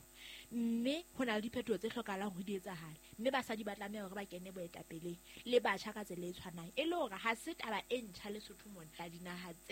mme ho na le diphetoho tse hlokahalang hore di etsahale, mme basadi ba tlameha hore ba kene boetapeleng le batjha ka tsela e tshwanang, e le hore ha se taba e ntjha Lesotho mona dinaha tse